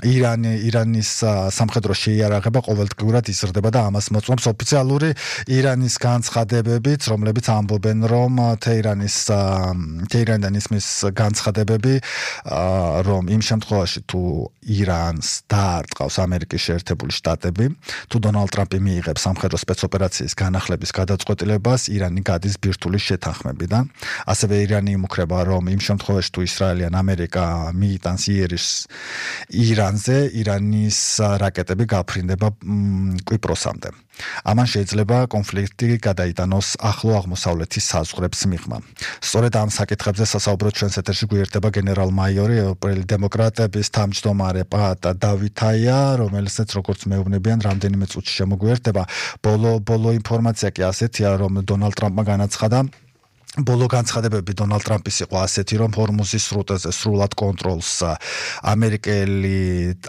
ირანი ირანის სამხედრო შეიარაღება ყოველდღიურად იზრდება და ამას მოწმობს ოფიციალური ირანის განცხადებებით, რომლებიც ამბობენ, რომ თეირანის თეირანიდან ისმის განცხადებები, რომ იმ შემთხვევაში თუ ირანს დაარტყავს ამერიკის შეერთებული შტატები, თუ დონალდ ტრამპი მიიღებს სამხედრო სპეცოპერაციის განახლების გადაწყვეტილებას, ირანი გადის ბირთვული შეთანხმებიდან. ასევე ირანი იმუქრება, რომ იმ შემთხვევაში თუ ისრაელი ან ამერიკა მიიტანს იერიშს ირანზე, ირანის რაკეტები გაფრინდება კვიპროსამდე. ამან შეიძლება კონფლიქტი გადაიტანოს ახლო აღმოსავლეთის საზღვრებს მიღმა. სწორედ ამ საკითხებზე სასაუბროთ ჩვენს ეთერში გვერდება გენერალ-მაიორი ევროპელი დემოკრატების თავმჯდომარე პაატა დავითაია, რომელსაც როგორც მეუბნებიან, რამდენიმე წუთში შემოგვერდება. ბოლო ბოლო ინფორმაცია კი ასეთია, რომ დონალდ ტრამპმა განაცხადა, ბოლო განცხადებები დონალდ ტრამპის იყო ასეთი, რომ ჰორმუზის სრუტეზე სრულად კონტროლს ამერიკელი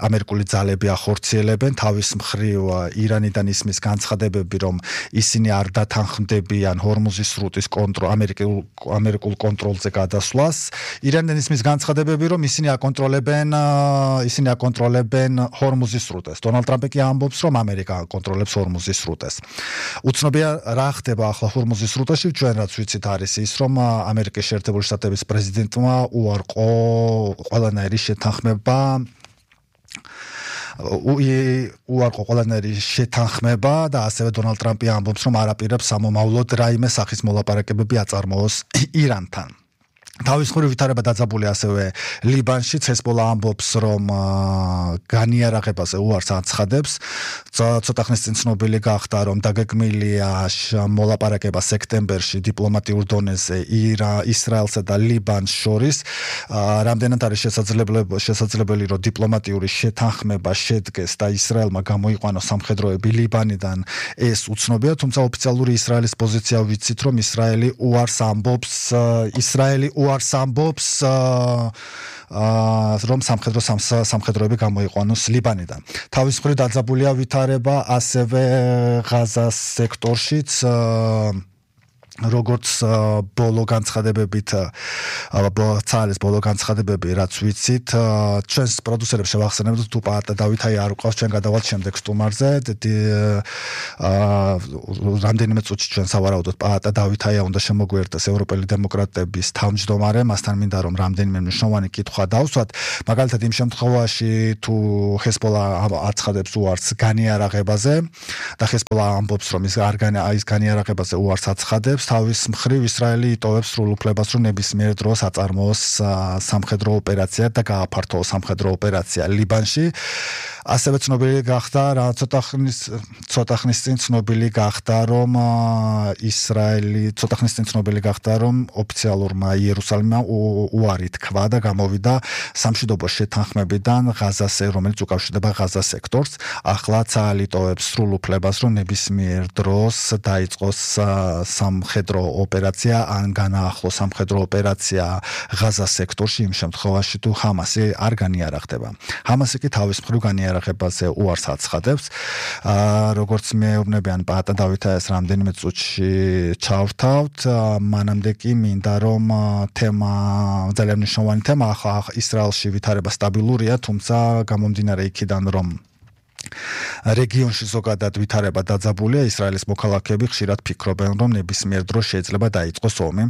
ამერიკული ძალები ახორციელებენ. თავის მხრივ ირანიდან ისმის განცხადებები, რომ ისინი არ დათანხმდებიან ჰორმუზის სრუტის კონტროლ ამერიკულ ამერიკულ კონტროლზე გადასვლას. ირანიდან ისმის განცხადებები, რომ ისინი აკონტროლებენ ისინი აკონტროლებენ ჰორმუზის სრუტეს. დონალდ ტრამპი კი ამბობს, რომ ამერიკა აკონტროლებს ჰორმუზის სრუტეს. უცნობია რა ხდება ახლა ჰორმუზის სრუტეში, ჩვენ რაც ვიცით არის ის, რომ ამერიკის შეერთებული შტატების პრეზიდენტმა უარყო ყველანაირი შეთანხმება უარყო ყველანაირი შეთანხმება და ასევე დონალდ ტრამპი ამბობს, რომ არ აპირებს სამომავლოდ რაიმე სახის მოლაპარაკებები აწარმოოს ირანთან. თავის მხრივ ვითარება დაძაბული ასევე ლიბანში ჰეზბოლა ამბობს რომ განიარაღებაზე უარს აცხადებს ცოტა ხნის წინ ცნობილი გახდა რომ დაგეგმილია მოლაპარაკება სექტემბერში დიპლომატიურ დონეზე ისრაელსა და ლიბანს შორის რამდენად არის შესაძლებელი შესაძლებელი რომ დიპლომატიური შეთანხმება შედგეს და ისრაელმა გამოიყვანოს სამხედროები ლიბანიდან ეს უცნობია თუმცა ოფიციალური ისრაელის პოზიცია ვიცით რომ ისრაელი უარს ამბობს ისრაელი უარს ამბობს რომ სამხედრო სამხედროები გამოიყვანოს ლიბანიდან. თავის მხრივ დაძაბულია ვითარება ასევე ღაზას სექტორშიც როგორც ბოლო განცხადებებით ცალის ბოლო განცხადებები რაც ვიცით ჩვენს პროდიუსერებს შევახსენებთ თუ პაატა დავითაი არ უყავს ჩვენ გადავალთ შემდეგ სტუმარზე რამდენიმე წუთში ჩვენ სავარაუდოდ პაატა დავითაია უნდა შემოგვიერთდეს ევროპელი დემოკრატების თავმჯდომარე მასთან მინდა რომ რამდენიმე მნიშვნელოვანი კითხვა დავსვათ მაგალითად იმ შემთხვევაში თუ ჰეზბოლა აცხადებს უარს განიარაღებაზე და ჰეზბოლა ამბობს რომ ის არ ის განიარაღებაზე უარს აცხადებს თავის მხრივ ისრაელი იტოვებს სრულ უფლებას რომ ნებისმიერ დროს აწარმოოს სამხედრო ოპერაცია და გააფართოოს სამხედრო ოპერაცია ლიბანში ასევე ცნობილი გახდა რა ცოტა ხნის ცოტა ხნის წინ ცნობილი გახდა რომ ისრაელი ცოტა ხნის წინ ცნობილი გახდა რომ ოფიციალურმა იერუსალიმმა უარი თქვა და გამოვიდა სამშვიდობო შეთანხმებიდან ღაზაზე რომელიც უკავშირდება ღაზას სექტორს ახლა ცალი იტოვებს სრულ უფლებას რომ ნებისმიერ დროს დაიწყოს სამხედრო ოპერაცია ან განაახლოს სამხედრო ოპერაცია ღაზას სექტორში იმ შემთხვევაში თუ ჰამასი არ განიარაღდება ჰამასი კი თავის მხრივ განიარაღებაზე უარს აცხადებს როგორც მეუბნებიან პაატა დავითაიას რამდენიმე წუთში ჩავრთავთ მანამდე კი მინდა რომ თემა ძალიან მნიშვნელოვანი თემა ახლა ისრაელში ვითარება სტაბილურია თუმცა გამომდინარე იქიდან რომ რეგიონში ზოგადად ვითარება დაძაბულია ისრაელის მოქალაქეები ხშირად ფიქრობენ რომ ნებისმიერ დროს შეიძლება დაიწყოს ომი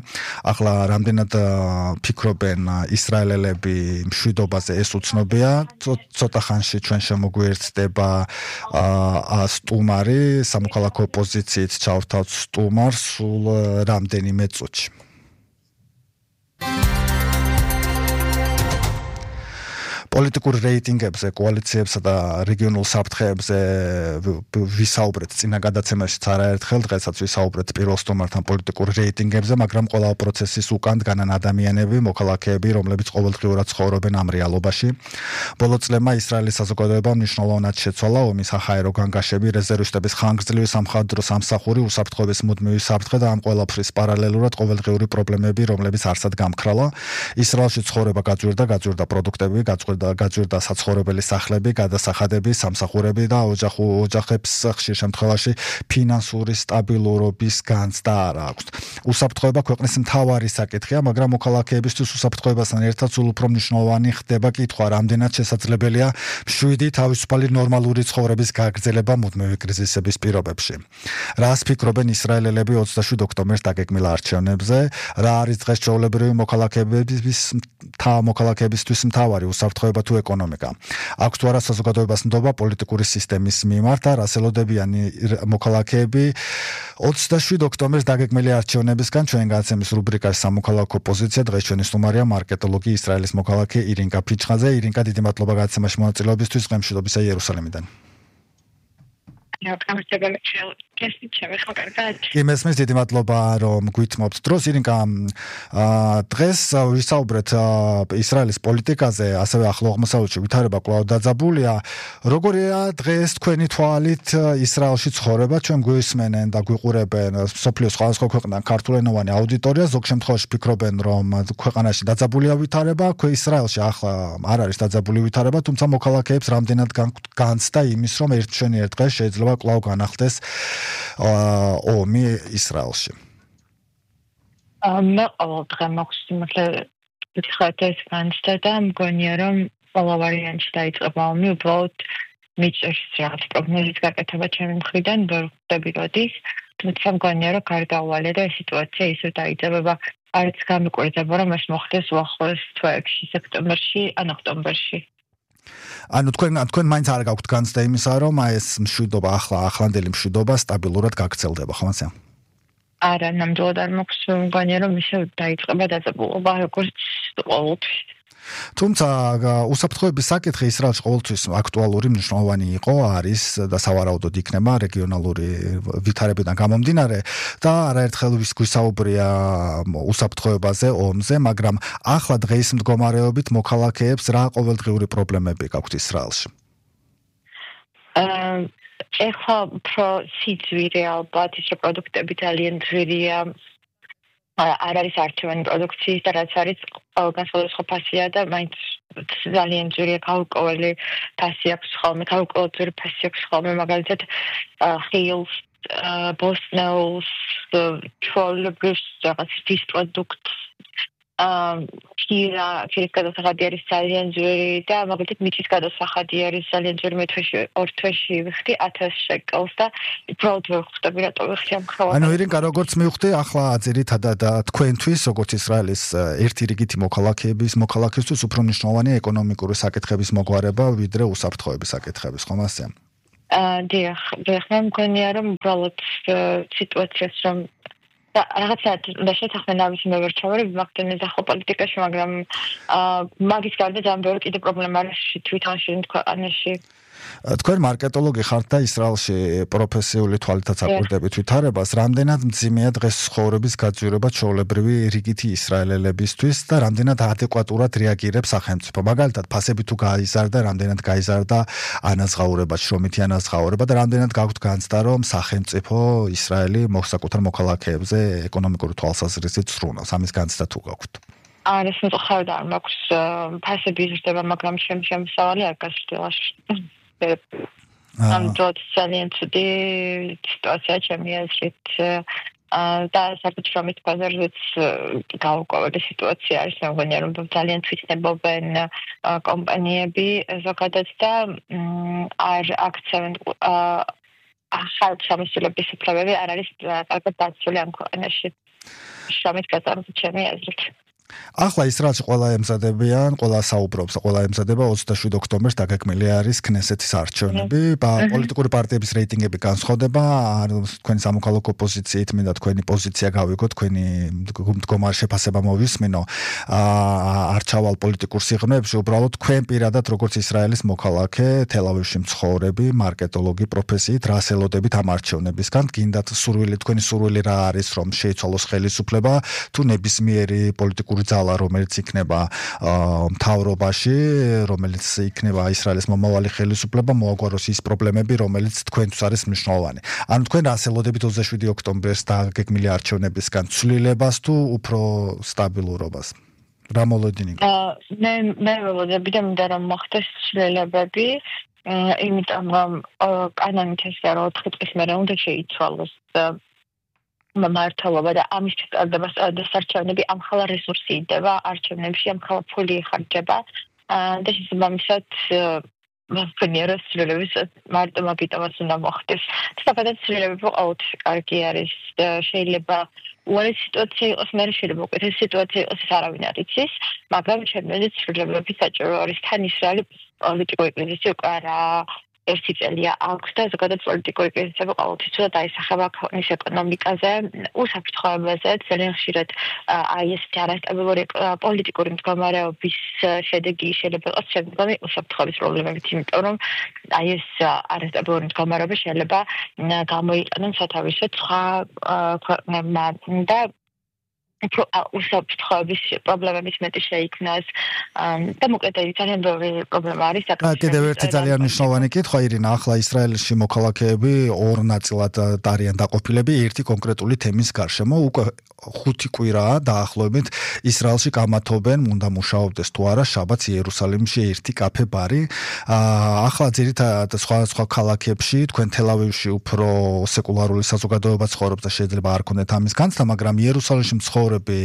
ახლა რამდენად ფიქრობენ ისრაელელები მშვიდობაზე ეს უცნობია ცოტა ხანში ჩვენ შემოგვიერთდება სტუმარი სამოქალაქო ოპოზიციით ჩავრთავთ სტუმარს სულ რამდენიმე წუთში პოლიტიკურ რეიტინგებზე, კოალიციებსა და რეგიონულ საფრთხეებზე ვისაუბრეთ წინა გადაცემაშიც არაერთხელ, დღესაც ვისაუბრეთ პირველ სტუმართან პოლიტიკურ რეიტინგებზე, მაგრამ ყველა პროცესის უკან დგანან ადამიანები, მოქალაქეები, რომლებიც ყოველდღიურად ცხოვრობენ ამ რეალობაში. ბოლო წლებმა ისრაელის საზოგადოებამ მნიშვნელოვნად შეცვალა ომის საჰაერო განგაშები, რეზერვისტების ხანგრძლივი სამხედრო სამსახური, უსაფრთხოების მუდმივი საფრთხე და ამ ყველაფრის პარალელურად ყოველდღიური პრობლემები, რომლებიც არსად გამქრალა. ისრაელში ცხოვრება გაძვირდა, გაძვირდა პროდუქტები, გაძვირდა გაძვირდა საცხოვრებელი სახლები, გადასახადები, სამსახურები და ოჯახებს ხშირ შემთხვევაში ფინანსური სტაბილურობის განცდა არ აქვს. უსაფრთხოება ქვეყნის მთავარი საკითხია, მაგრამ მოქალაქეებისთვის უსაფრთხოებასთან ერთად სულ უფრო მნიშვნელოვანი ხდება კითხვა, რამდენად შესაძლებელია მშვიდი თავისუფალი ნორმალური ცხოვრების გაგრძელება მუდმივი კრიზისების პირობებში. რას ფიქრობენ ისრაელელები ოცდაშვიდ ოქტომბერს დაგეგმილ არჩევნებზე, რა არის დღეს ჩვეულებრივი მოქალაქეების მოქალაქეებისთვის მთავარი უსაფრთხოება თუ ეკონომიკა. აქვს თუ არა საზოგადოებას ნდობა პოლიტიკური სისტემის მიმართ და რას ელოდებიან მოქალაქეები ოცდაშვიდ ოქტომბერს დაგეგმილი არჩევნებისგან ჩვენ გადაცემის რუბრიკაში სამოქალაქო პოზიცია დღეს ჩვენი სტუმარია მარკეტოლოგი ისრაელის მოქალაქე ირინკა ფიჩხაძე. ირინკა დიდი მადლობა გადაცემაში მონაწილეობისთვის ღმერთშობისა იერუსალიმიდან. კი მესმის დიდი მადლობა რომ გვითმობთ დროს ირინკა დღეს ვისაუბრეთ ისრაელის პოლიტიკაზე ასევე ახლო აღმოსავლეთში ვითარება კვლავ დაძაბულია როგორია დღეს თქვენი თვალით ისრაელში ცხოვრება ჩვენ გვისმენენ და გვიყურებენ სოფლიოს სხვადასხვა ქვეყნიდან ქართულენოვანი აუდიტორია ზოგ შემთხვევაში ფიქრობენ რომ ქვეყანაში დაძაბულია ვითარება ქვე ისრაელში ახლა არ არის დაძაბული ვითარება თუმცა მოქალაქეებს რამდენად განცდა იმის რომ ერთ მშვენიერ დღეს შეიძლება კვლავ განახლდეს ომი ისრაელში. მე ყოველდღე მაქვს იმართლა ვიხარდეს განცდა და მგონია რომ ყველა ვარიანტი დაიწყება ომი უბრალოდ მიჭერს რაღაც პროგნოზის გაკეთება ჩემი მხრიდან ვერ ხვდები როდის თუმცა მგონია რომ გარდაუვალე და სიტუაცია ისე დაიწყება არც გამიკვირდება რომ ეს მოხდეს უახლოეს თვეებში სექტემბერში ან ოქტომბერში. ანუ თქვენ თქვენ მაინც არ გაქვთ განცდა იმისა რომ ეს მშვიდობა ახლა ახლანდელი მშვიდობა სტაბილურად გაგრძელდება ხო მასე? არა, ნამდვილად არ მაქვს მგონია, რომ ისე დაიწყება დაძაბულობა, როგორც ყოველთვის. თუმცა უსაფრთხოების საკითხი ისრაელში ყოველთვის აქტუალური მნიშვნელოვანი იყო, არის და სავარაუდოდ იქნება რეგიონალური ვითარებიდან გამომდინარე და არაერთხელ გვისაუბრია უსაფრთხოებაზე, ომზე, მაგრამ ახლა დღეის მდგომარეობით მოქალაქეებს რა ყოველდღიური პრობლემები გაქვთ ისრაელში? ეხლა უფრო სიძვირე ალბათ, ის რომ პროდუქტები ძალიან ძვირია, არ არის არჩევანი პროდუქციის და რაც არის ყველგან სხვადასხვა ფასია და მაინც ძალიან ძვირია გაურკვეველი ფასი აქვს ხოლმე, გაურკვეველი ფასი აქვს ხოლმე, მაგალითად ხილს, ბოსნეულს, ჩვეულებრივ რაღაც ის პროდუქტს ქირა, ქირის გადასახადი არის ძალიან ძვირი და მაგალითად მიწის გადასახადი არის ძალიან ძვირი, მე თვეში ორ თვეში ვიხდი ათას შეკელს და უბრალოდ ვერ ხვდები რატო ვიხდი ამ ხალხს. ანუ ირინკა როგორც მივხვდი, ახლა ძირითადად თქვენთვის, როგორც ისრაელის ერთი რიგითი მოქალაქეების, მოქალაქისთვის უფრო მნიშვნელოვანია ეკონომიკური საკითხების მოგვარება, ვიდრე უსაფრთხოების საკითხების, ხომ ასე? აა დიახ, დიახ, მე მგონია რომ უბრალოდ სიტუაციას რომ რაღაცა და შეთანხმება ამის მე ვერ ჩავარებ მაგდენეს ახლა პოლიტიკაში, მაგრამ მაგის გარდა ძალიან ბევრი კიდე პრობლემა არის თვითონ შენ ქვეყანაში. თქვენ მარკეტოლოგი ხართ და ისრაელში პროფესიული თვალითაც აკვირდებით ვითარებას, რამდენად მძიმეა დღეს ცხოვრების გაძვირება ჩვეულებრივი რიგითი ისრაელელებისთვის და რამდენად ადეკვატურად რეაგირებს სახელმწიფო. მაგალითად, ფასები თუ გაიზარდა, რამდენად გაიზარდა ანაზღაურება, შრომითი ანაზღაურება და რამდენად გაქვთ განცდა, რომ სახელმწიფო ისრაელი მოსაკუთარ მოქალაქეებზე ეკონომიკური თვალსაზრისით სრუნავს. ამის განცდა თუ გაქვთ? არა, ეს მოხდა არ მაქვს ფასები იზრდება, მაგრამ ჩემ შემოსავალი არ გასწრება. ამ დროით ძალიან ცუდი სიტუაცია ჩემი აზრით და საკუთრებით ბაზარზეც გაურკვეველი სიტუაცია არის, მე მგონია რომ ძალიან თვითნებობენ კომპანიები ზოგადად და არ აქცევენ ახალ შემოსავლების უფლებები არ არის კარგად დაცული ამ ქვეყანაში. შრომით გაზარდა ჩემი აზრით. ახლა ისრაელში ყველა ემზადებიან, ყველა საუბრობს, ყველა ემზადება ოცდაშვიდ ოქტომბერს დაგეგმილი არის ქნესეთის არჩევნები, პოლიტიკური პარტიების რეიტინგები განსხვავდება, თქვენი სამოქალაქო პოზიციით მინდა თქვენი პოზიცია გავიგოთ, თქვენი მდგომარე შეფასება მოვისმინო არჩევალ პოლიტიკურ სიღრმეებში, უბრალოდ თქვენ პირადად როგორც ისრაელის მოქალაქე, თელ-ავივში მცხოვრები, მარკეტოლოგი პროფესიით, რა ელოდებით ამ არჩევნებისგან, გინდათ სურვილი, თქვენი სურვილი რა არის, რომ შეიცვალოს ხელისუფლება, თუ ნებისმიერი პოლიტიკური ძალა, რომელიც იქნება მთავრობაში, რომელიც იქნება ისრაელის მომავალი ხელისუფლება, მოაგვაროს ის პრობლემები, რომელიც თქვენთვის არის მნიშვნელოვანი. ანუ თქვენ რას ელოდებით ოცდაშვიდი ოქტომბერს დაგეგმილი არჩევნებისგან, ცვლილებას თუ უფრო სტაბილურობას? რა მოლოდინი? მე მე ველოდები და მინდა რომ მოხდეს ცვლილებები, იმიტომ რომ კანონით ესაა რომ ოთხი წლის მერე უნდა შეიცვალოს მმართველობა და ამის ჩატარებას დასარჩენები ამხელა რესურსი იდება არჩევნებში, ამხელა ფული იხარჯება და შესაბამისად მგონია რომ ცვლილების მარტო მაგიტომაც უნდა მოხდეს. თუმცა ცვლილებები ყოველთვის კარგი არის, შეიძლება უარი სიტუაცია იყოს, მე შეიძლება უკეთესი სიტუაცია იყოს, ეს არავინ არ იცის, მაგრამ ჩემთვის ცვლილებები საჭირო არის. თან ისრაელი პოლიტიკური კრიზისი უკვე არა ერთი წელია აქვს და ზოგადად პოლიტიკური კრიზისები ყოველთვის ცუდად აისახება ქვეყნის ეკონომიკაზე, უსაფრთხოებაზე, ძალიან ხშირად აი ესეთი არასტაბილური პოლიტიკური მდგომარეობის შედეგი შეიძლება იყოს შემდგომი უსაფრთხოების პრობლემებით, იმიტომ რომ აი ეს არასტაბილური მდგომარეობა შეიძლება გამოიყენონ სათავისოდ სხვა ქვეყნებმა და უსაფრთხოების პრობლემების მეტი შეიქმნას და მოკლედ ძალიან ბევრი პრობლემა არის. კიდევ ერთი ძალიან მნიშვნელოვანი კითხვა, ირინა, ახლა ისრაელში მოქალაქეები ორ ნაწილად არიან დაყოფილები ერთი კონკრეტული თემის გარშემო. უკვე ხუთი კვირაა დაახლოებით ისრაელში გამათობენ, უნდა მუშაობდეს თუ არა შაბათს იერუსალიმში ერთი კაფე ბარი. ახლა ძირითადად სხვა სხვა ქალაქებში, თქვენ თელ-ავივში უფრო სეკულარული საზოგადოება ცხოვრობს და შეიძლება არ ქონდეთ ამის განცდა, მაგრამ იერუსალიმში მოგზაურები,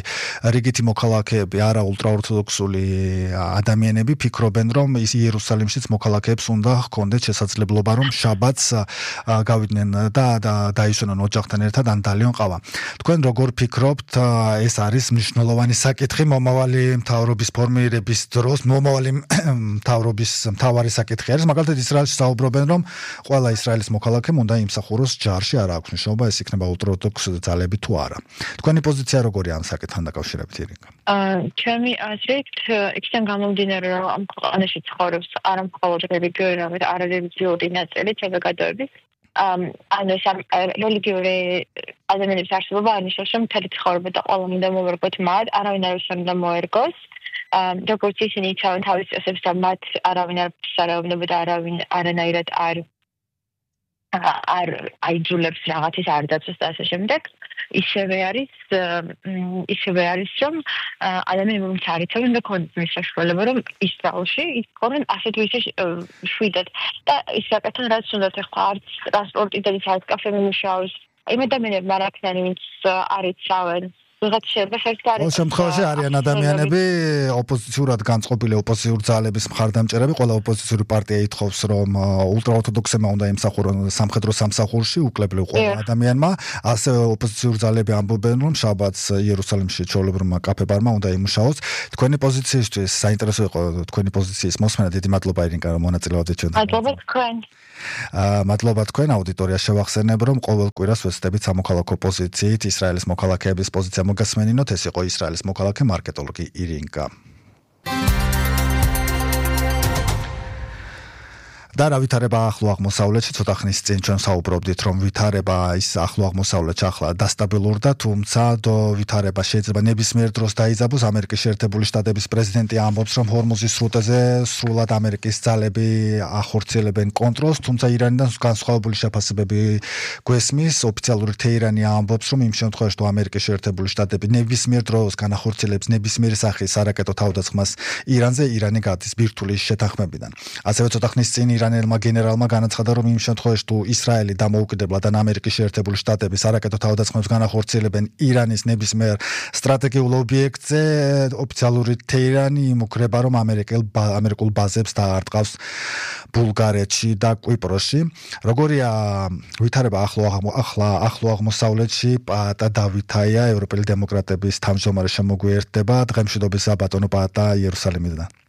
რიგითი მოქალაქეები, არა ულტრაორთოდოქსული ადამიანები ფიქრობენ, რომ ის იერუსალიმშიც მოქალაქეებს უნდა ჰქონდეთ შესაძლებლობა, რომ შაბათს გავიდნენ და დაისვენონ ოჯახთან ერთად ან დალიონ ყავა. თქვენ როგორ ფიქრობთ, ეს არის მნიშვნელოვანი საკითხი მომავალი მთავრობის ფორმირების დროს, მომავალი მთავრობის მთავარი საკითხი არის, მაგალითად ისრაელში საუბრობენ, რომ ყველა ისრაელის მოქალაქემ უნდა იმსახუროს ჯარში, არ აქვს მნიშვნელობა, ეს იქნება ულტრაორთოდოქს ძალები თუ არა. თქვენი პოზიცია როგორია ამ საკითხთან დაკავშირებით, ირინკა? ჩემი აზრით, იქიდან გამომდინარე, რომ ამ ქვეყანაში ცხოვრობს არა მხოლოდ რელიგიური, არამედ არარელიგიური ნაწილი საზოგადოების, ანუ ეს რელიგიური ადამიანების არსებობა არნიშნავს, რომ მთელი ცხოვრება და ყველა უნდა მოვერგოთ მათ, არავინ არ უნდა მოერგოს. როგორც ისინი იცავენ თავის წესებს და მათ არავინ არ შეეუბნება და არავინ არანაირად არ არ აიძულებს რაღაცის არ დაწოს და ასე შემდეგ. ისევე არის ისევე არის რომ ადამიანებს არ იცავენ და კონდიციის საშუალება რომ ისრაელში იქონენ ასეთ ვისე შვიდად და ის საკეთონ რაც უნდათ ახლა არც ტრანსპორტი და არც კაფე მიმუშავოს იმ ადამიანებს არ აქნან ვინც არ იცავენ ვიღაც შეიძლება ხერხი ყოველ შემთხვევაში არიან ადამიანები ოპოზიციურად განწყობილი ოპოზიციური ძალების მხარდამჭერები, ყველა ოპოზიციური პარტია ითხოვს, რომ ულტრაორთოდოქსებმა უნდა იმსახურონ სამხედრო სამსახურში, უკლებლივ ყველა ადამიანმა, ასევე ოპოზიციური ძალები ამბობენ, რომ შაბათს იერუსალიმში ჩვეულებრივმა კაფე-ბარმა უნდა იმუშაოს. თქვენი პოზიციისთვის საინტერესო იყო თქვენი პოზიციის მოსმენა, დიდი მადლობა ირინკა, რომ მონაწილეობდით ჩვენთან. მადლობა თქვენ. მადლობა თქვენ აუდიტორია შევახსენებ, რომ ყოველ კვირას ვეცდებით სამოქალაქო პოზიციით ისრაელის მოქალაქეების პოზიცია მოგასმენინოთ, ეს იყო ისრაელის მოქალაქე მარკეტოლოგი ირინკა. და რა ვითარება ახლო აღმოსავლეთში, ცოტა ხნის წინ ჩვენ საუბრობდით, რომ ვითარება ის ახლო აღმოსავლეთში ახლა დასტაბილურდა, თუმცა ვითარება შეიძლება ნებისმიერ დროს დაიძაბოს. ამერიკის შეერთებული შტატების პრეზიდენტი ამბობს, რომ ჰორმუზის სრუტეზე სრულად ამერიკის ძალები ახორციელებენ კონტროლს, თუმცა ირანიდან განსხვავებული შეფასებები გვესმის. ოფიციალური თეირანი ამბობს, რომ იმ შემთხვევაში, თუ ამერიკის შეერთებული შტატები ნებისმიერ დროს განახორციელებს ნებისმიერი სახის არაკეტო თავდასხმას ირანზე, ირანი გადის ბირთვული შეთანხმებიდან. ასევე ცოტა ხნის წინ ირანელმა გენერალმა განაცხადა, რომ იმ შემთხვევაში, თუ ისრაელი დამოუკიდებლად ან ამერიკის შეერთებული შტატების არაკეტო თავდასხმებს განახორციელებენ ირანის ნებისმიერ სტრატეგიულ ობიექტზე, ოფიციალური თეირანი იმუქრება, რომ ამერიკულ ბაზებს დაარტყავს ბულგარეთში და კვიპროსში. როგორია ვითარება ახლო ახლო აღმოსავლეთში? პაატა დავითაია, ევროპელი დემოკრატების თავმჯდომარე შემოგვიერთდება. დღემშვიდობის საბატონო პაატა იერუსალიმიდან.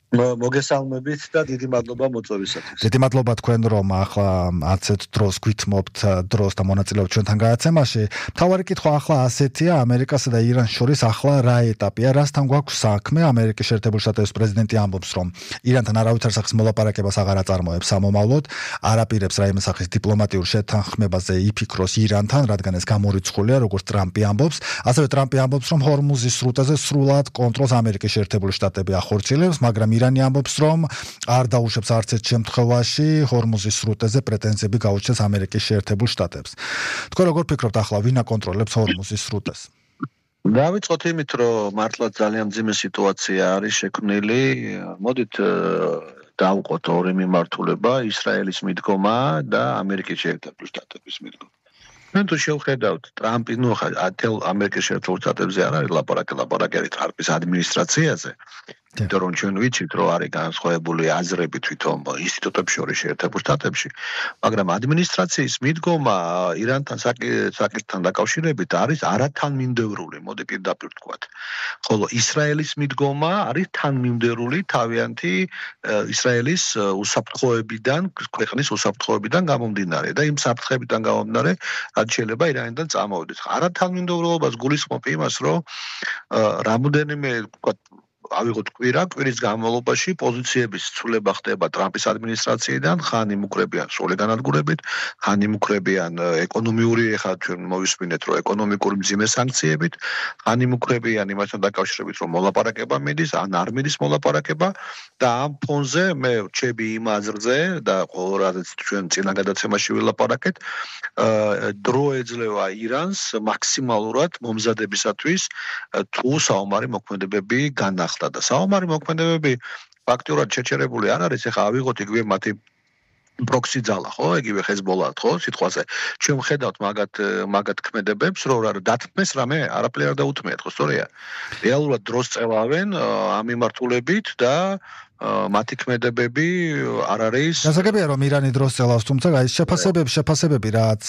მოგესალმებით და დიდი მადლობა მოწვევისათვის. დიდი მადლობა თქვენ, რომ ახლა არცეთ დროს გვითმობთ დროს და მონაწილეობთ ჩვენთან გადაცემაში. მთავარი კითხვა ახლა ასეთია, ამერიკასა და ირანს შორის ახლა რა ეტაპია, რასთან გვაქვს საქმე? ამერიკის შეერთებული შტატების პრეზიდენტი ამბობს, რომ ირანთან არავითარ სახის მოლაპარაკებას აღარ აწარმოებს სამომავლოდ, არ აპირებს რაიმე სახის დიპლომატიურ შეთანხმებაზე იფიქროს ირანთან, რადგან ეს გამორიცხულია, როგორც ტრამპი ამბობს. ასევე ტრამპი ამბობს, რომ ჰორმუზის სრუტეზე სრულად კონტროლს ამერიკის შეერთებული შტატები ახორციელებს, მაგრამ ირანი ამბობს, რომ არ დაუშვებს არც ერთ შემთხვევაში ჰორმუზის სრუტეზე პრეტენზიები გაუჩნდეს ამერიკის შეერთებულ შტატებს. თქვენ როგორ ფიქრობთ ახლა ვინ აკონტროლებს ჰორმუზის სრუტეს? დავიწყოთ იმით, რომ მართლაც ძალიან მძიმე სიტუაცია არის შექმნილი. მოდით დავუყოთ ორი მიმართულება, ისრაელის მიდგომა და ამერიკის შეერთებული შტატების მიდგომა. მე თუ შევხედავთ ტრამპი, ნუ ხა ამერიკის შეერთებულ შტატებზე არ არის ლაპარაკი, ლაპარაკი არის ტრამპის ადმინისტრაციაზე. იმიტომ რომ ჩვენ ვიცით, რომ არის განსხვავებული აზრები თვითონ ინსტიტუტებში შორის შეერთებულ შტატებში, მაგრამ ადმინისტრაციის მიდგომა ირანთან საკითხთან დაკავშირებით არის არათანმიმდევრული, მოდი პირდაპირ ვთქვათ. ხოლო ისრაელის მიდგომა არის თანმიმდევრული თავიანთი ისრაელის უსაფრთხოებიდან, ქვეყნის უსაფრთხოებიდან გამომდინარე და იმ საფრთხეებიდან გამომდინარე, რაც შეიძლება ირანიდან წამოვიდეს. არათანმიმდევრულობას გულისხმობ იმას, რომ რამოდენიმე ვთქვათ ავიღოთ კვირა, კვირის განმავლობაში პოზიციების ცვლილება ხდება ტრამპის ადმინისტრაციიდან, ხან იმუქრებიან სრული განადგურებით, ხან იმუქრებიან ეკონომიური, ეხლა ჩვენ მოვისმინეთ, რომ ეკონომიკური მძიმე სანქციებით, ხან იმუქრებიან იმასთან დაკავშირებით, რომ მოლაპარაკება მიდის, ან არ მიდის მოლაპარაკება და ამ ფონზე მე ვრჩები იმ აზრზე და ყოველ რადაც ჩვენ წინა გადაცემაში ვილაპარაკეთ, დრო ეძლევა ირანს მაქსიმალურად მომზადებისათვის თუ საომარი მოქმედებები განახლდა და საომარი მოქმედებები ფაქტიურად შეჩერებული არ არის. ეხლა ავიღოთ იგივე მათი პროქსი ძალა, ხო, იგივე Hezbollah, ხო, სიტყვაზე. ჩვენ ვხედავთ მაგათ მაგათ ქმედებებს, რომ რა დათმეს რამე არაფერი არ დაუთმეათ, ხო, სწორია. რეალურად დროს წევავენ ამ მიმართულებით და მათი ქმედებები არ არის. გასაგებია რომ ირანი დროს წელავს, თუმცა აი შეფასებები, შეფასებები რაც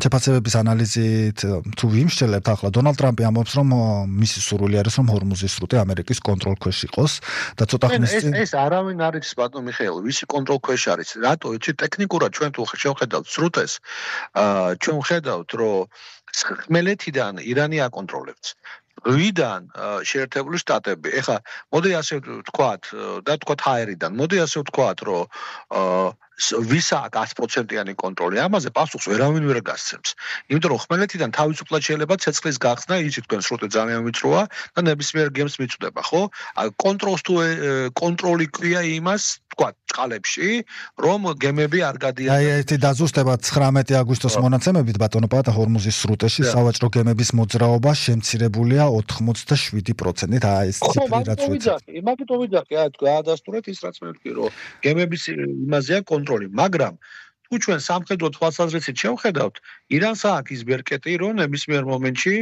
შეფასებების ანალიზით თუ ვიმსჯელებთ ახლა დონალდ ტრამპი ამბობს რომ მისი სურვილი არის რომ ჰორმუზის სრუტე ამერიკის კონტროლ ქვეშ იყოს და ცოტა ხნის წინ ეს ეს არავინ არ არის ბატონო მიხეილ, ვისი კონტროლ ქვეშ არის. რატო იცი ტექნიკურად ჩვენ თუ შევხედავთ სრუტეს, ჩვენ ვხედავთ რომ ხმელეთიდან ირანი აკონტროლებს. ვიდან შეერთებული შტატები. ეხლა მოდი ასე ვთქვათ და ვთქვათ ჰაერიდან. მოდი ასე ვთქვათ, რომ ვისა აქ sto პროცენტიანი კონტროლი. ამაზე პასუხს ვერავინ ვერ გასცემს. იმიტომ რომ ხმელეთიდან თავისუფლად შეიძლება ცეცხლის გახსნა, იცით თქვენ სრუტე ძალიან ვიწროა და ნებისმიერ გემს მიწვდება, ხო? კონტროლს თუ კონტროლი ქვია იმას, ვთქვათ, წყალებში, რომ გემები არ გადიან. აი ერთი დაზუსტება ცხრამეტი აგვისტოს მონაცემებით ბატონო პატა ჰორმუზის სრუტეში სავაჭრო გემების მოძრაობა შემცირებულია ოთხმოცდაშვიდი პროცენტით. აი ეს ციფრი რაც ვიცი. მაგიტომ ვიძახი, აი თქვა ადასტურეთ ის რაც მე ვთქვი, რომ გემების იმაზეა კონტროლი, მაგრამ თუ ჩვენ სამხედრო თვალსაზრისით შევხედავთ, ირანს აქვს ის ბერკეტი, რომ ნებისმიერ მომენტში